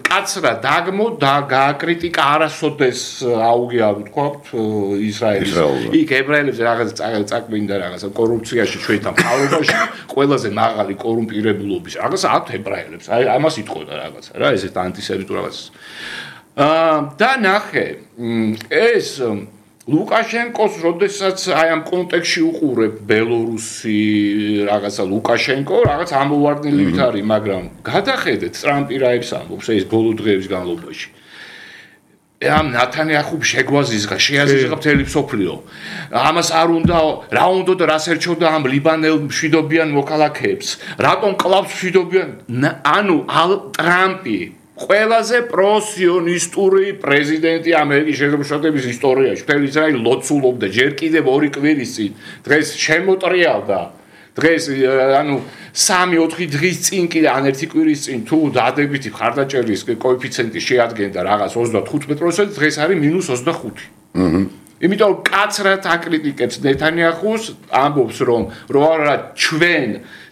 კაცრა დაგმო და გააკრიტიკა არასოდეს აუგია ვთქვათ ისრაელის იქ ებრაელებს რაღაც წაკვინდა რაღაც კორუფციაში ჩვენთან მთავრობაში ყველაზე მაღალი კორუმპირებულობის რაღაც აქვთ ებრაელებს აი ამას იტყოდა რაღაცა რა ესეთ ანტისემიტურ რაღაცას აა და ნახე ეს ლუკაშენკოს როდესაც აი ამ კონტექსში უყურებ ბელორუსი რაღაცა ლუკაშენკო რაღაც ამოვარდნილივით არის მაგრამ გადახედეთ ტრამპი რაებს ამბობს ეს ბოლო დღეების განმავლობაში ამ ნათანიაჰუმ შეგვაზიზღა შეაზიზღა მთელი მსოფლიო ამას არ უნდა რა უნდა და რას ერჩოდა ამ ლიბანელ მშვიდობიან მოქალაქეებს რატომ კლავს მშვიდობიან ანუ ტრამპი ყველაზე პროსიონისტური პრეზიდენტი ამერიკის შეერთებული შტატების ისტორიაში. მთელი ისრაელი ლოცულობდა ჯერ კიდევ ორი კვირის წინ. დღეს შემოტრიალდა. დღეს ანუ სამი ოთხი დღის წინ კიდე ან ერთი კვირის წინ თუ დადებითი ხარდაჭერის კოეფიციენტი შეადგენდა რაღაც ოცდათხუთმეტ პროცენტს, დღეს არის მინუს ოცდახუთი. აჰა. იმიტომ კაცრად აკრიტიკებს ნეთანიაჰუს, ამბობს რომ რო არა ჩვენ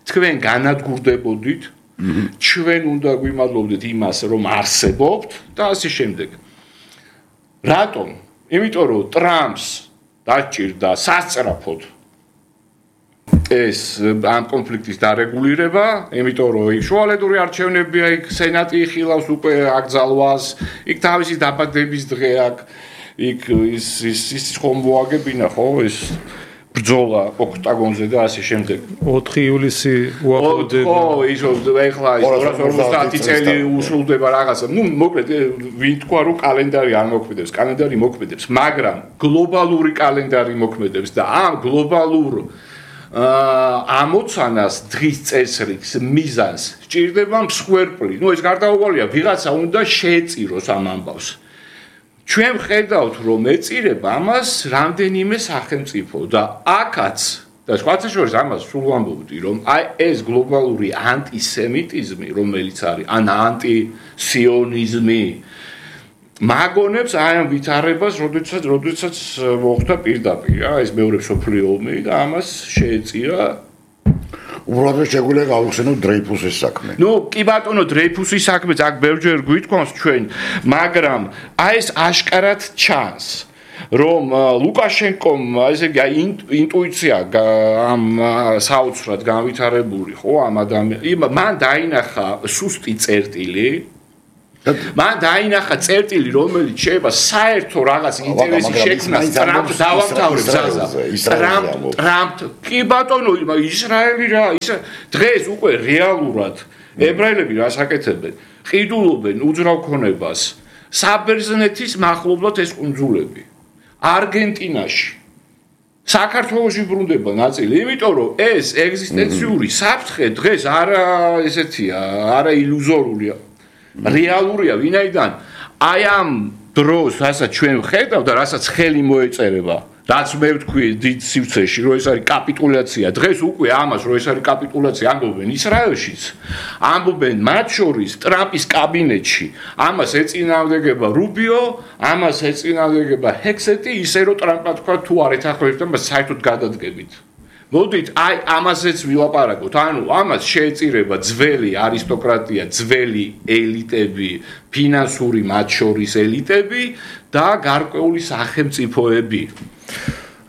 თქვენ განადგურდებოდით ჩვენ უნდა გვიმადლობდეთ იმას რომ არსებობთ და ასე შემდეგ. რატომ? იმიტომ რომ ტრამპს დაჭირდა სასწრაფოდ ეს ამ კონფლიქტის დარეგულირება, იმიტომ რომ იქ შუალედური არჩევნებია, იქ სენატი იხილავს უკვე აკრძალვას, იქ თავისი დაბადების დღე აქვს, იქ ის ის ის ხომ მოაგებინა ხო ეს ბრძოლა ოქტაგონზე და ასე შემდეგ. ოთხი ივლისი უახლოვდება. ხო, ის ეხლა ის ორას ორმოცდაათი წელი უსრულდება რაღაცა. ნუ მოკლედ ვინ თქვა რომ კალენდარი არ მოქმედებს, კალენდარი მოქმედებს, მაგრამ გლობალური კალენდარი მოქმედებს და ამ გლობალურ აა ამოცანას დღის წესრიგს მიზანს სჭირდება მსხვერპლი. ნუ ეს გარდაუვალია, ვიღაცა უნდა შეეწიროს ამ ამბავს. ჩვენ ხედავთ რომ ეწირება ამას რამდენიმე სახელმწიფო და აქაც და სხვათა შორის ამას სულ ვამბობდი, რომ აი ეს გლობალური ანტისემიტიზმი, რომელიც არის, ან ანტისიონიზმი მაგონებს აი ამ ვითარებას, როდესაც როდესაც მოხდა პირდაპირ, რა, ეს მეორე მსოფლიო ომი და ამას შეეწირა უბრალოდ შეგვიძლია გავიხსენოთ დრეიფუსის საქმე. ნუ კი ბატონო, დრეიფუსის საქმეც აქ ბევრჯერ გვითქვამს ჩვენ, მაგრამ აი ეს აშკარად ჩანს, რომ ლუკაშენკომ ესე იგი ინტუიცია ამ საოცრად განვითარებული, ხო, ამ ადამიანს, მან დაინახა სუსტი წერტილი, მან დაინახა წერტილი, რომელიც შეიძლება საერთო რაღაც ინტერესი შექმნას ტრამპ დავამთავრებ ზაზა. ტრამპ ტრამპ კი ბატონო, ისრაელი რა, ის დღეს უკვე რეალურად ებრაელები რას აკეთებენ? ყიდულობენ უძრავ ქონებას საბერძნეთის მახლობლად ეს კუნძულები. არგენტინაში საქართველოში ბრუნდება ნაწილი, იმიტომ რომ ეს ეგზისტენციური საფრთხე დღეს არა ესეთია, არა ილუზორულია, რეალურია, ვინაიდან აი ამ დროს, რასაც ჩვენ ვხედავ და რასაც ხელი მოეწერება, რაც მე ვთქვი დიდ სივრცეში, რომ ეს არის კაპიტულაცია, დღეს უკვე ამას, რომ ეს არის კაპიტულაცია, ამბობენ ისრაელშიც, ამბობენ მათ შორის ტრამპის კაბინეტში, ამას ეწინააღმდეგება რუბიო, ამას ეწინააღმდეგება ჰექსეტი, ისე რომ ტრამპმა თქვა თუ არ ეთანხმებით, მას საერთოდ გადადგებით. მოდით, აი ამაზეც ვილაპარაკოთ, ანუ ამას შეეწირება ძველი არისტოკრატია, ძველი ელიტები, ფინანსური მათ შორის ელიტები და გარკვეული სახელმწიფოები.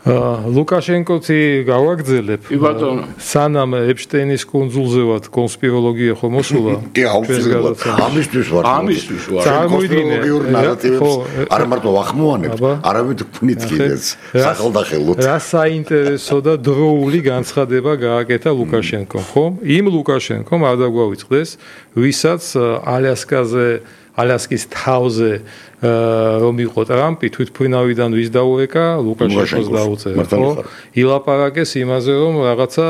ლუკაშენკოთი გავაგრძელებ. სანამ ეპშტეინის კუნძულზე ვართ კონსპიროლოგია ხო მოსულა? კი, აუცილებლად. ამისთვის ვარ. ამისთვის ვარ. კონსპიროლოგიურ ნარატივებს არ მარტო ვახმოვანებთ, არამედ ვქმნით კიდეც სახელდახელოდ. რა საინტერესო და დროული განცხადება გააკეთა ლუკაშენკომ, ხო? იმ ლუკაშენკომ არ დაგვავიწყდეს, ვისაც ალიასკაზე ალასკის თავზე რომ იყო ტრამპი თვითმფრინავიდან ვის დაურეკა ლუკაშენკოს დაუწერა ხო ილაპარაკეს იმაზე რომ რაღაცა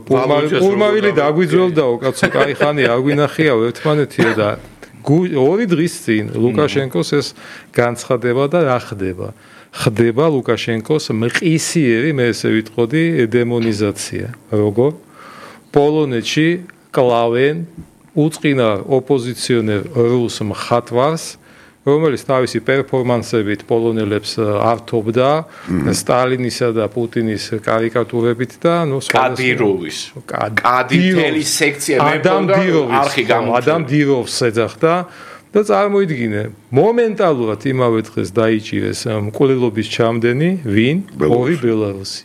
პულმარილი დაგვიძველდაო კაცო კაი ხანი არ გვინახიაო ერთმანეთიო და ორი დღის წინ ლუკაშენკოს ეს განცხადება და რა ხდება ხდება ლუკაშენკოს მყისიერი მე ესე ვიტყოდი დემონიზაცია როგორ პოლონეთში კლავენ უწყინა ოპოზიციონერ რუს მხატვარს რომელიც თავისი პერფორმანსებით პოლონელებს ართობდა სტალინისა და პუტინის კარიკატურებით და ნუ კადიროვის კადიროვის სექცია მეფობდა არხი გამოჩნდა ადამ დიროვს ეძახდა და წარმოიდგინე მომენტალურად იმავე დღეს დაიჭირეს მკვლელობის ჩამდენი ვინ ორი ბელარუსი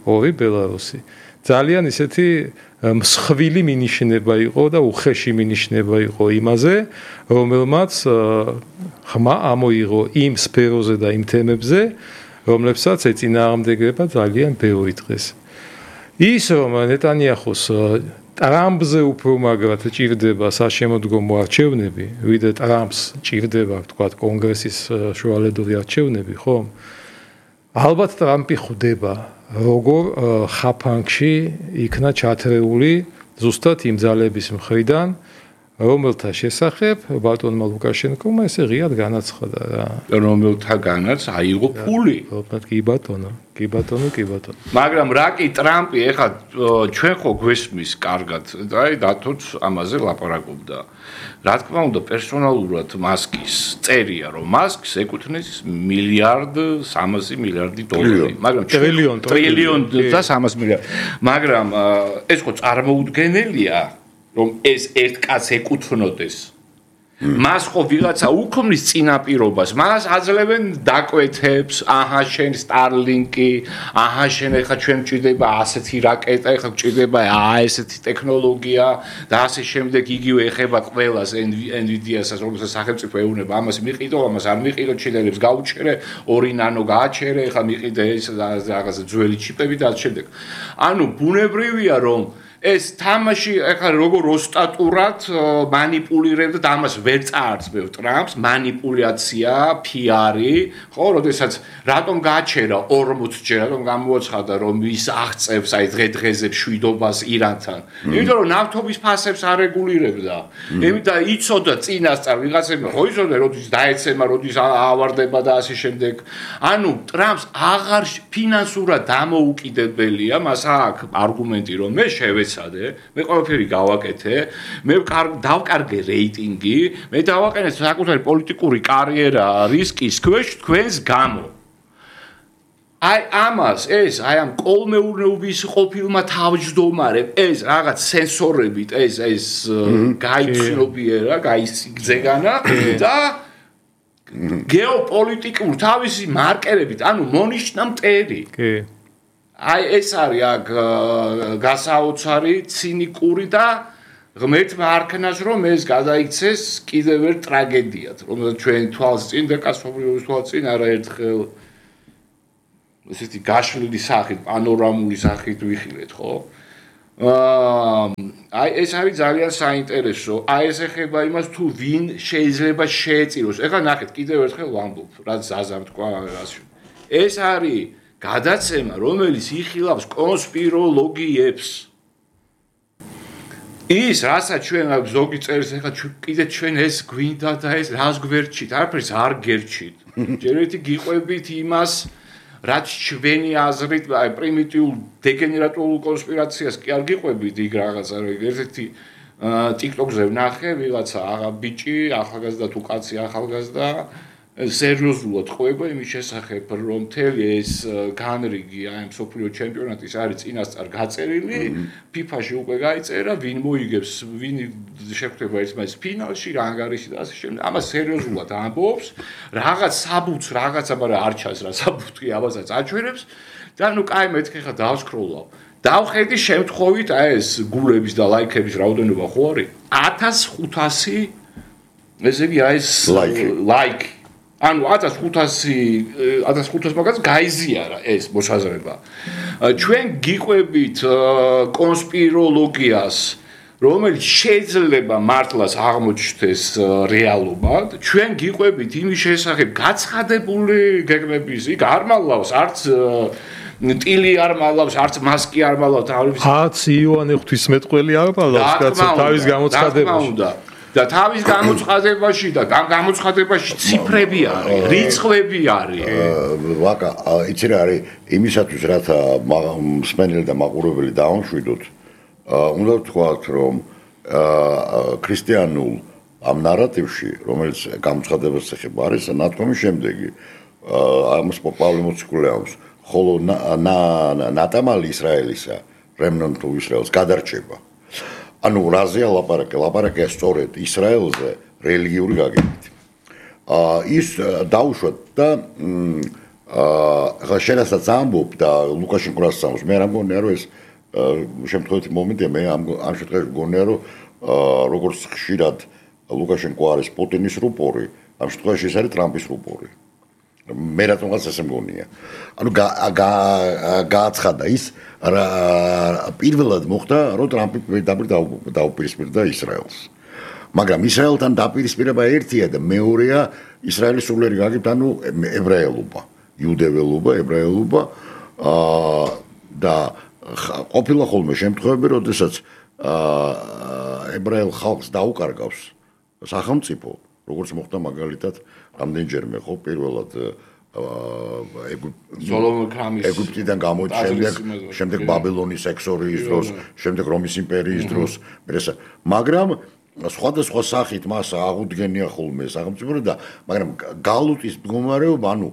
ორი ბელარუსი ძალიან ისეთი მსხვილი მინიშნება იყო და უხეში მინიშნება იყო იმაზე, რომელმაც ხმა ამოიღო იმ სფეროზე და იმ თემებზე, რომლებსაც ეწინააღმდეგება ძალიან ბევრი დღეს. ის რომ ნეტანიაჰუს ტრამპზე უფრო მაგრად ჭირდება საშემოდგომო არჩევნები, ვიდრე ტრამპს ჭირდება, თქვა, კონგრესის შუალედური არჩევნები, ხო? ალბათ ტრამპი ხვდება როგორ ხაფანგში იქნა ჩათრეული ზუსტად იმ ძალების მხრიდან, რომელთა შესახებ ბატონმა ლუკაშენკომ ესე ღიად განაცხადა რა. რომელთაგანაც აიღო ფული. კი ბატონო, კი ბატონო, კი ბატონო. მაგრამ რა კი ტრამპი ეხლა ჩვენ ხო გვესმის კარგად, აი დათოც ამაზე ლაპარაკობდა. რა თქმა უნდა, პერსონალურად მასკის წერია, რომ მასკს ეკუთვნის მილიარდ სამასი მილიარდი დოლარი, მაგრამ ტრილიონ ტრილიონ და სამასი მილიარდი. მაგრამ ეს ხო წარმოუდგენელია, რომ ეს ერთ კაცს ეკუთვნოდეს. მას ხო ვიღაცა უქმნის წინაპირობას, მას აძლევენ დაკვეთებს, აჰა შენ სტარლინკი, აჰა შენ ეხა ჩვენ მჭირდება ასეთი რაკეტა, ეხა მჭირდება აა ესეთი ტექნოლოგია და ასე შემდეგ იგივე ეხება ყველას NVIDIA-საც, რომელსაც სახელმწიფო ეუბნება, ამას მიყიდო, ამას არ მიყიდო, ჩილერებს გაუჩერე, ორი ნანო გააჩერე, ეხა მიყიდე ეს რაღაცა ძველი ჩიპები და ასე შემდეგ. ანუ ბუნებრივია რომ ეს თამაში ახლა როგორ ოსტატურად მანიპულირებდა და ამას ვერ წაარწმევ ტრამპს, მანიპულაცია, პიარი, ხო, როდესაც რატომ გააჩერა ორმოც ჯერ, რატომ გამოაცხადა რომ ის აღწევს აი დღე-დღეზე მშვიდობას ირანთან. იმიტომ რომ ნავთობის ფასებს არ რეგულირებდა. იმიტომ და იცოდა წინასწარ ვიღაცებმა, ხო იცოდა როდის დაეცემა, როდის ავარდება და ასე შემდეგ. ანუ ტრამპს აღარ ფინანსურად დამოუკიდებელია, მას აქვს არგუმენტი რომ მე შევეცადე, მე ყველაფერი გავაკეთე, მე დავკარგე რეიტინგი, მე დავაყენე საკუთარი პოლიტიკური კარიერა რისკის ქვეშ თქვენს გამო. აი ამას ეს აი ამ კოლმეურნეობის ყოფილმა თავმჯდომარემ ეს რაღაც სენსორებით ეს ეს გაიცნობიერა, გაიგზეგანა და გეოპოლიტიკურ თავისი მარკერებით, ანუ მონიშნა მტერი. კი. აი ეს არის აქ გასაოცარი, ცინიკური და ღმერთმა არქნას რომ ეს გადაიქცეს კიდევ ერთ ტრაგედიად, რომელსაც ჩვენ თვალს წინ და კაცობრიობის თვალს წინ არაერთხელ ესეთი გაშლილი სახით, პანორამული სახით ვიხილეთ, ხო? აა აი ეს არის ძალიან საინტერესო. აი ეს ეხება იმას თუ ვინ შეიძლება შეეწიროს. ეხლა ნახეთ, კიდევ ერთხელ ვამბობ, რაც ზაზამ თქვა რას. ეს არის გადაცემა, რომელიც იხილავს კონსპიროლოგიებს. ის, რასაც ჩვენ ზოგი წერს, ეხლა კიდე ჩვენ ეს გვინდა და ეს რას გვერჩით, არაფერს არ გერჩით. ჯერ ერთი გიყვებით იმას, რაც ჩვენი აზრით, აი პრიმიტიულ დეგენერატულ კონსპირაციას კი არ გიყვებით იქ რაღაცა, ერთ-ერთი TikTok-ზე ვნახე, ვიღაცა აღა ბიჭი, ახალგაზრდა თუ კაცი ახალგაზრდა სერიოზულად ყვება იმის შესახებ, რომ მთელი ეს განრიგი აი მსოფლიო ჩემპიონატის არის წინასწარ გაწერილი, FIFA-ში უკვე გაიწერა, ვინ მოიგებს, ვინ შეხვდება ერთმანეთს ფინალში, რა ანგარიში და ასე შემდეგ. ამას სერიოზულად ამბობს, რაღაც საბუთს, რაღაცა, მაგრამ არ ჩანს რა საბუთი, ამასაც აჩვენებს და ნუ კაი მეთქე ხა დავსკროლავ. დავხედი შემთხვევით აი ეს გულების და ლაიქების რაოდენობა ხო არის? ათას ხუთასი ესე იგი აი ეს ლაიქი. ანუ ათას ხუთასი ათას ხუთას მაგას გაიზიარა ეს მოსაზრება. ჩვენ გიყვებით კონსპიროლოგიას, რომელიც შეიძლება მართლაც აღმოჩნდეს რეალობად, ჩვენ გიყვებით იმის შესახებ გაცხადებული გეგმების, იქ არ მალავს არც ტილი არ მალავს, არც მასკი არ მალავს, თავის ათს იოანე ღვთისმეტყველი არ მალავს, კაცო, თავის გამოცხადებაში. და თავის გამოცხადებაში და ამ გამოცხადებაში ციფრები არის, რიცხვები არის. ვაკა, იცი რა არის, იმისათვის რათა მსმენელი და მაყურებელი დაამშვიდოთ, უნდა ვთქვათ, რომ ქრისტიანულ ამ ნარატივში, რომელიც გამოცხადებას ეხება, არის ნათქვამი შემდეგი. ამას პავლე მოციქულეამს, ხოლო ნატამალი ისრაელისა, remnant of Israel-ს გადარჩება. ანუ რაზეა ლაპარაკი? ლაპარაკია სწორედ ისრაელზე რელიგიური გაგებით. აა ის დაუშვათ და აა შენასაც ამბობ და ლუკაშენკო რას ამბობს, მე არ მგონია რომ ეს შემთხვევით მომენტია, მე ამ ამ შემთხვევაში მგონია რომ როგორც ხშირად ლუკაშენკო არის პუტინის რუპორი, ამ შემთხვევაში ეს არის ტრამპის რუპორი. მე რატომღაც ესე მგონია. ანუ გააცხადა ის პირველად მოხდა, რომ ტრამპი პირდაპირ დაუპირისპირდა ისრაელს. მაგრამ ისრაელთან დაპირისპირება ერთია და მეორეა ისრაელის სულიერი გაგებით, ანუ ებრაელობა, იუდეველობა, ებრაელობა და ყოფილა ხოლმე შემთხვევები, როდესაც ებრაელ ხალხს დაუკარგავს სახელმწიფო, როგორც მოხდა მაგალითად რამდენჯერმე ხო პირველად ეგვიპტიდან გამოდის, შემდეგ შემდეგ ბაბილონის ექსორიის დროს, შემდეგ რომის იმპერიის დროს, მაგრამ სხვადასხვა სახით მას აღუდგენია ხოლმე სახელმწიფო და მაგრამ გალუტის მდგომარეობა, ანუ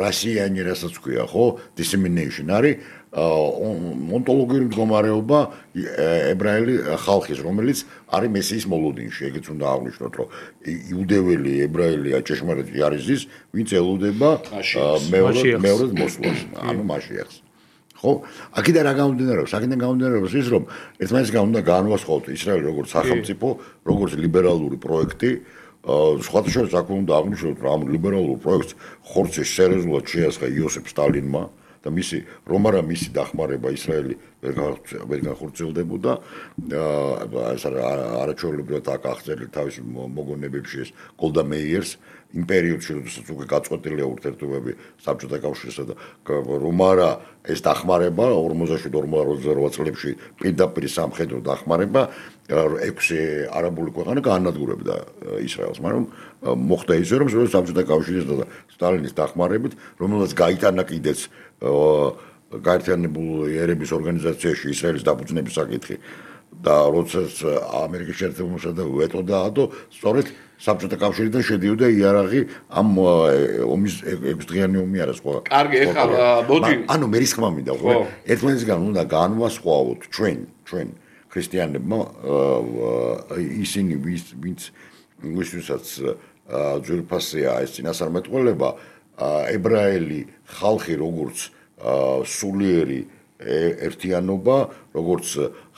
რასიანი რასაც ქვია, ხო, dissemination არის ონტოლოგიური მდგომარეობა ებრაელი ხალხის, რომელიც არის მესიის მოლოდინში, ეგეც უნდა აღვნიშნოთ, რომ იუდეველი, ებრაელი ჭეშმარიტი არის ის, ვინც ელოდება მეორე მეორე მოსვლას, ანუ მაშიახს. ხო? აქედან რა გამომდინარეობს? აქედან გამომდინარეობს ის, რომ ერთმანეთისგან უნდა განვასხვაოთ ისრაელი როგორც სახელმწიფო, როგორც ლიბერალური პროექტი. სხვათა შორის აქ უნდა აღვნიშნოთ, რომ ამ ლიბერალურ პროექტს ხორცის სერიოზულად შეასხა იოსებ სტალინმა და მისი რომ არა მისი დახმარება ისრაელი ვერ განხორციელდებოდა ეს არაჩვეულებრივად აქ აღწერილი თავის მოგონებებში ეს გოლდა მეიერს იმ პერიოდში როდესაც უკვე გაწყვეტილია ურთიერთობები საბჭოთა კავშირსა და რომ არა ეს დახმარება ორმოცდაშვიდ ორმოცდაოთხ წლებში პირდაპირ სამხედრო დახმარება ექვსი არაბული ქვეყანა გაანადგურებდა ისრაელს, მაგრამ მოხდა ისე რომ საბჭოთა კავშირის და სტალინის დახმარებით, რომელსაც გაიტანა კიდეც გაერთიანებული ერების ორგანიზაციაში ისრაელის დაფუძნების საკითხი და როდესაც ამერიკის შეერთებულ შტატებმა ვეტო დაადო, სწორედ საბჭოთა კავშირიდან შედიოდა იარაღი ამ ომის ექვსდღიანი ომი არა სხვა. კარგი, ეხლა მოდი. ანუ მე რისკმა მინდა ხო? ერთმანეთისგან უნდა განვასხვაოთ ჩვენ, ჩვენ ქრისტიანებმა ისინი ვინც ვისთვისაც ძვირფასია ეს წინასწარმეტყველება ებრაელი ხალხი როგორც სულიერი ერთიანობა, როგორც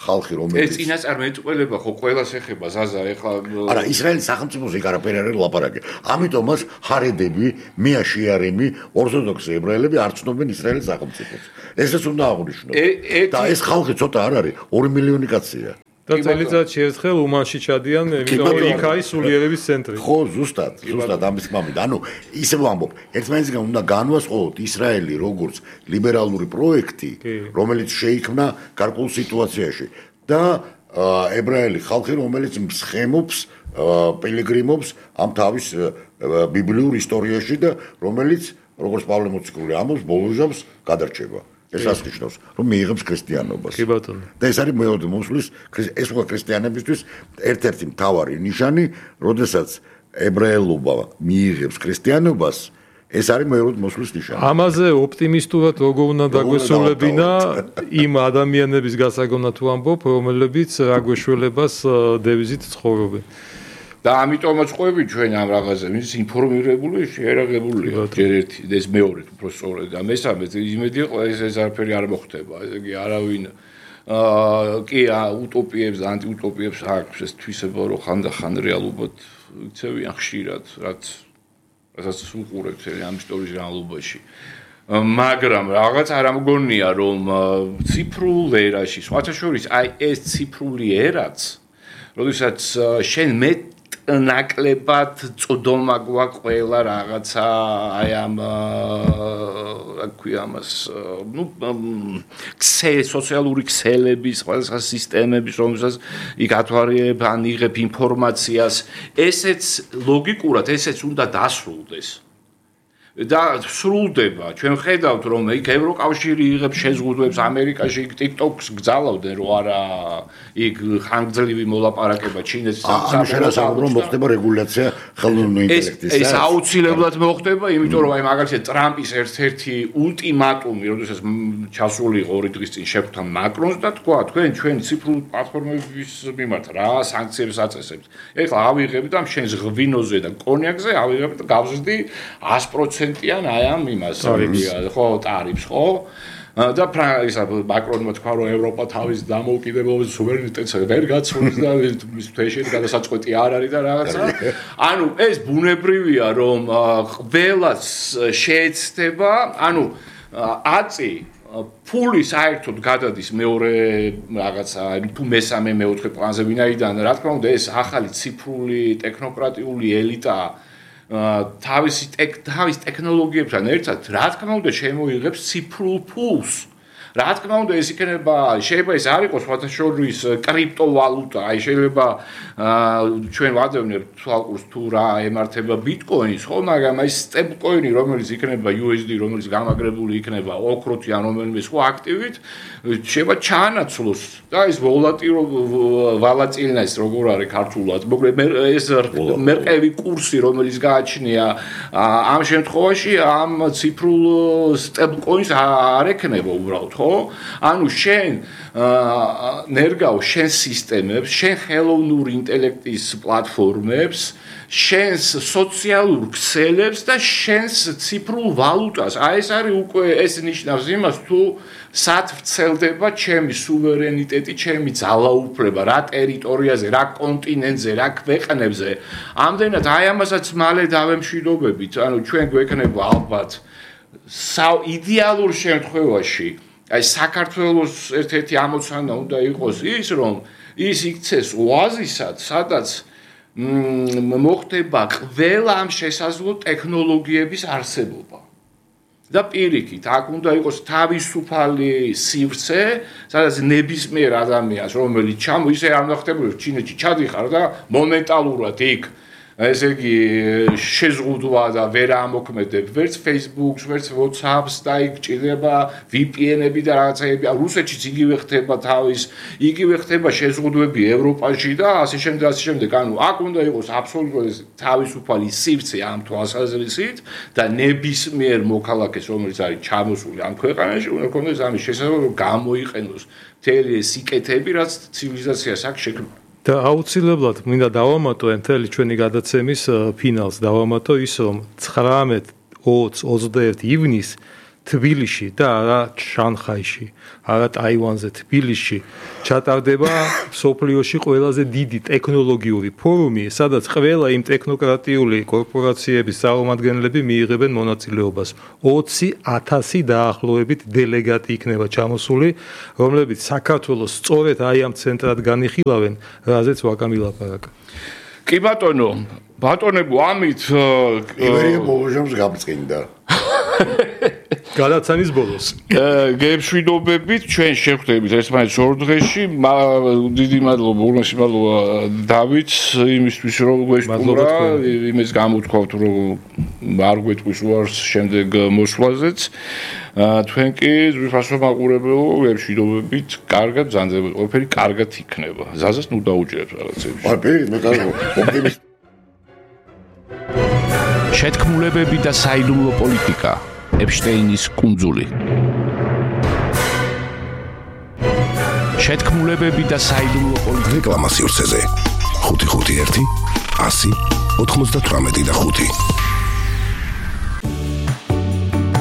ხალხი რომელიც ეს წინასწარმეტყველება ხო ყველას ეხება ზაზა ეხლა არა ისრაელის სახელმწიფოს იქ არაფერი არ ლაპარაკი. ამიტომაც ხარედები, მეაშიარემი, ორთოდოქსი ებრაელები არ ცნობენ ისრაელის სახელმწიფოს. ესეც უნდა აღვნიშნოთ. და ეს ხალხი ცოტა არ არის, ორი მილიონი კაცია. და წელიწადში ერთხელ უმანში ჩადიან, იმიტომ რომ იქ არის სულიერების ცენტრი. ხო, ზუსტად, ზუსტად ამის გამომდინარე. ანუ ისე ვამბობ, ერთმანეთისგან უნდა განვასხვაოთ ისრაელი როგორც ლიბერალური პროექტი, რომელიც შეიქმნა გარკვეულ სიტუაციაში და ებრაელი ხალხი, რომელიც მსხემობს, პილიგრიმობს ამ თავის ბიბლიურ ისტორიაში და რომელიც, როგორც პავლე მოციქული ამბობს, ბოლოჟამს გადარჩება. ეს ასნიშნავს, რომ მიიღებს ქრისტიანობას. კი ბატონო. და ეს არის მეორე მოსვლის, ეს უკვე ქრისტიანებისთვის ერთ-ერთი მთავარი ნიშანი, როდესაც ებრაელობა მიიღებს ქრისტიანობას, ეს არის მეორე მოსვლის ნიშანი. ამაზე ოპტიმისტურად როგორ უნდა დაგვესრულებინა იმ ადამიანების გასაგონა თუ ამბობ, რომლებიც რაგვეშველებას დევიზით ცხოვრობენ. და ამიტომაც ყვები ჩვენ ამ რაღაცზე ის ინფორმირებული შეერაღებულია ჯერ ერთი ეს მეორე უფრო სწორედ და მესამე იმედი ყო ეს ეს არაფერი არ მოხდება ესე იგი არავინ აა კი უტოპიებს და ანტიუტოპიებს აქვს ეს თვისება რომ ხანდახან რეალობად იქცევიან ხშირად რაც რასაც უყურებთ ამ ისტორიის რეალობაში მაგრამ რაღაც არ ამგონია რომ ციფრულ ერაში სხვათა შორის აი ეს ციფრული ერაც როდესაც შენ მე ნაკლებად წოდომა გვაქვს ყველა რაღაცა აი ამ რა ქვია ამას ნუ ქსე სოციალური ქსელების ყველა სისტემების რომელსაც იქ ათვარიებ ან იღებ ინფორმაციას ესეც ლოგიკურად ესეც უნდა დასრულდეს და სრულდება ჩვენ ხედავთ რომ იქ ევროკავშირი იღებს შეზღუდვებს ამერიკაში იქ TikTok-ს გძალავდნენ რომ არა იქ ხანგრძლივი მოლაპარაკება ჩინეთს სამშაბათს რომ მოხდება რეგულაცია ხელოვნური ინტელექტის ეს აუცილებლად მოხდება იმიტომ რომ აი მაგალითად ტრამპის ერთ-ერთი ულტიმატუმი როდესაც ჩასული იყო ორი დღის წინ შეხვდა მაკრონს და თქვა თქვენ ჩვენ ციფრულ პლატფორმების მიმართ რა სანქციებს აწესებთ ეხლა ავიღებ და შენს ღვინოზე და კონიაკზე ავიღებ და გავზრდი ას პროცენტიან აი ამ იმას ხო ტარიფს ხო და ისა მაკრონმა თქვა რომ ევროპა თავის დამოუკიდებლობის სუვერენიტეტს ვერ გაცვლის და მის თვეში გადასაწყვეტი არ არის და რაღაცა ანუ ეს ბუნებრივია რომ ყველას შეეცდება ანუ აწი ფული საერთოდ გადადის მეორე რაღაცა თუ მესამე მეოთხე პლანზე ვინაიდან რა თქმა უნდა ეს ახალი ციფრული ტექნოკრატიული ელიტა თავისი თავის ტექნოლოგიებთან ერთად რა თქმა უნდა შემოიღებს ციფრულ ფულს რა თქმა უნდა ეს იქნება შეიძლება ეს არ იყოს სხვათა შორის კრიპტოვალუტა აი შეიძლება ჩვენ ვადევნებთ თვალყურს თუ რა ემართება ბიტკოინს ხო მაგრამ აი სტეიბლკოინი რომელიც იქნება იუ ეს დი რომელიც გამაგრებული იქნება ოქროთი ან რომელიმე სხვა აქტივით შეიძლება ჩაანაცვლოს და ეს ვოლატილო ვალატილნეს როგორ არის ქართულად მოკლედ ეს მერყევი კურსი რომელიც გააჩნია ამ შემთხვევაში ამ ციფრულ სტეიბლკოინს არ ექნება უბრალოდ ხო ანუ შენ ნერგავ შენ სისტემებს შენ ხელოვნური ინტელექტის პლატფორმებს შენს სოციალურ ქსელებს და შენს ციფრულ ვალუტას აი ეს არის უკვე ეს ნიშნავს იმას თუ სად ვრცელდება ჩემი სუვერენიტეტი ჩემი ძალაუფლება რა ტერიტორიაზე რა კონტინენტზე რა ქვეყნებზე ამდენად აი ამასაც მალე დავემშვიდობებით ანუ ჩვენ გვექნება ალბათ საიდეალურ შემთხვევაში აი საქართველოს ერთ-ერთი ამოცანა უნდა იყოს ის, რომ ის იქცეს ოაზისად, სადაც მოხდება ყველა ამ შესაძლო ტექნოლოგიების არსებობა. და პირიქით, აქ უნდა იყოს თავისუფალი სივრცე, სადაც ნებისმიერ ადამიანს, რომელიც ჩამო ისე არ ნახტებოდეს ჩინეთში ჩადიხარ და მომენტალურად იქ ესე იგი შეზღუდვა და ვერ ამოქმედებ ვერც Facebook-ს, ვერც WhatsApp-ს და იქ ჭირდება V P N-ები და რაღაცეები. რუსეთშიც იგივე ხდება თავის, იგივე ხდება შეზღუდვები ევროპაში და ასე შემდეგ, ასე შემდეგ. ანუ აქ უნდა იყოს აბსოლუტურად თავისუფალი სივრცე ამ თვალსაზრისით და ნებისმიერ მოქალაქეს, რომელიც არის ჩამოსული ამ ქვეყანაში, უნდა ქონდეს ამის შესაძლებლობა, რომ გამოიყენოს მთელი ეს სიკეთეები, რაც ცივილიზაციას აქვს შექმნილი. და აუცილებლად მინდა დავამატო მთელი ჩვენი გადაცემის ფინალს დავამატო ის რომ ცხრამეტ ოც ოცდაერთი ივნისს თბილისში და არა შანხაიში, არა ტაივანზე, თბილისში ჩატარდება სოფლიოში ყველაზე დიდი ტექნოლოგიური ფორუმი, სადაც ყველა იმ ტექნოკრატიული კორპორაციების წარმომადგენლები მიიღებენ მონაწილეობას. ოცი ათასი დაახლოებით დელეგატი იქნება ჩამოსული, რომლებიც საქართველოს სწორედ აი ამ ცენტრად განიხილავენ, რაზეც ვაკამი ლაპარაკა. კი ბატონო, ბატონებო, ამით ივერია ბოლოჟამს გამწყინდა. გადაცემის ბოლოს. გემშვიდობებით, ჩვენ შევხვდებით ერთმანეთს ორ დღეში. დიდი მადლობა, უღრმესი მადლობა დავითს იმისთვის, რომ გვესტუმრა, იმის გამოთქვათ, რომ არ გვეტყვის უარს შემდეგ მოსვლაზეც. თქვენ კი ზრიფასო მაყურებელო, გემშვიდობებით, კარგად ბრძანდებოდ, ყველაფერი კარგად იქნება. ზაზას ნუ დაუჭერეთ რაღაცები. აი, პირიქით, მე კარგო, ოპტიმისტი. შეთქმულებები და საიდუმლო პოლიტიკა. ეპშტეინის კუნძული. შეთქმულებები და საიდუმლო პოლიტიკა. რეკლამა სივრცეზე. ხუთი ხუთი ერთი ასი ოთხმოცდათვრამეტი და ხუთი.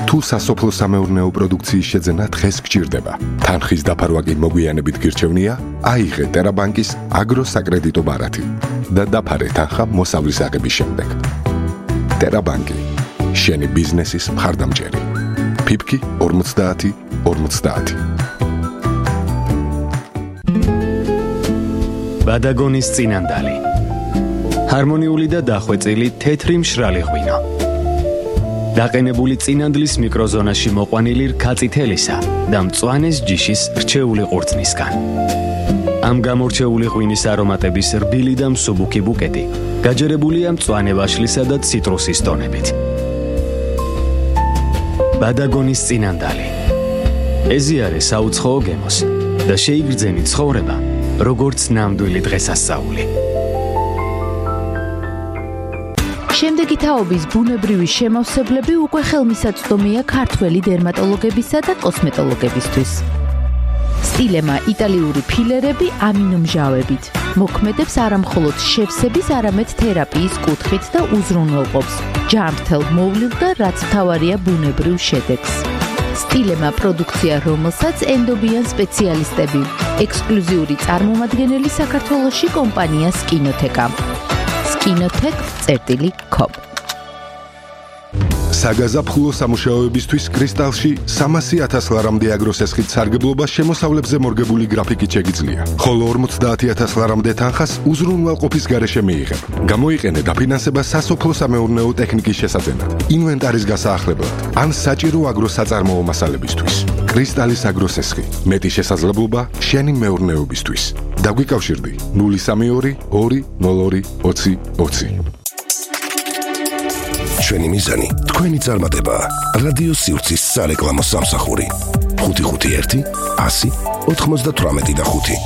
თუ სასოფლო-სამეურნეო პროდუქციის შეძენა დღეს გჭირდება. თანხის დაფარვა კი მოგვიანებით გირჩევნია, აიღე ტერაბანკის აგროსაკრედიტო ბარათი და დაფარე თანხა მოსავლის აღების შემდეგ. ტერაბანკი შენი ბიზნესის მხარდამჭერი. ფიფკი ორმოცდაათი ორმოცდაათი. ბადაგონის წინანდალი. ჰარმონიული და დახვეწილი თეთრი მშრალი ღვინო. დაყენებული წინანდლის მიკროზონაში მოყვანილი რქაწითელისა და მწვანეს ჯიშის რჩეული ყურძნისგან. ამ გამორჩეული ღვინის არომატების რბილი და მსუბუქი ბუკეტი გაჯერებულია მწვანე ვაშლისა და ციტრუსის ტონებით. ბადაგონის წინანდალი. ეზიარე საუცხოო გემოს და შეიგრძენი ცხოვრება, როგორც ნამდვილი დღესასწაული. შემდეგი თაობის ბუნებრივი შემავსებლები უკვე ხელმისაწვდომია ქართველი დერმატოლოგებისა და კოსმეტოლოგებისთვის. სტილემა იტალიური ფილერები ამინომჟავებით. მოქმედებს არამხოლოდ შევსების, არამედ თერაპიის კუთხით და უზრუნველყოფს ჯანმრთელ მოვლილ და რაც მთავარია ბუნებრივ შედეგს. სტილემა პროდუქცია, რომელსაც ენდობიან სპეციალისტები. ექსკლუზიური წარმომადგენელი საქართველოში კომპანია სკინოთეკა. სკინოთეკ წერტილი კომ. საგაზაფხულო სამუშაოებისთვის კრისტალში სამასი ათას ლარამდე აგროსესხით სარგებლობა შემოსავლებზე მორგებული გრაფიკით შეგიძლია. ხოლო ორმოცდაათი ათას ლარამდე თანხას უზრუნველყოფის გარეშე მიიღებ. გამოიყენე დაფინანსება სასოფლო-სამეურნეო ტექნიკის შესაძენად, ინვენტარის გასაახლებლად, ან საჭირო აგროსაწარმოო მასალებისთვის. კრისტალის აგროსესხი, მეტი შესაძლებლობა შენი მეურნეობისთვის. დაგვიკავშირდი ნული სამი ორი ორი ნულ ორი ოცი ოცი. ჩვენი მიზანი თქვენი წარმატება. რადიო სივრცის სარეკლამო სამსახური. ხუთი ხუთი ერთი ასი ოთხმოცდათვრამეტი და ხუთი.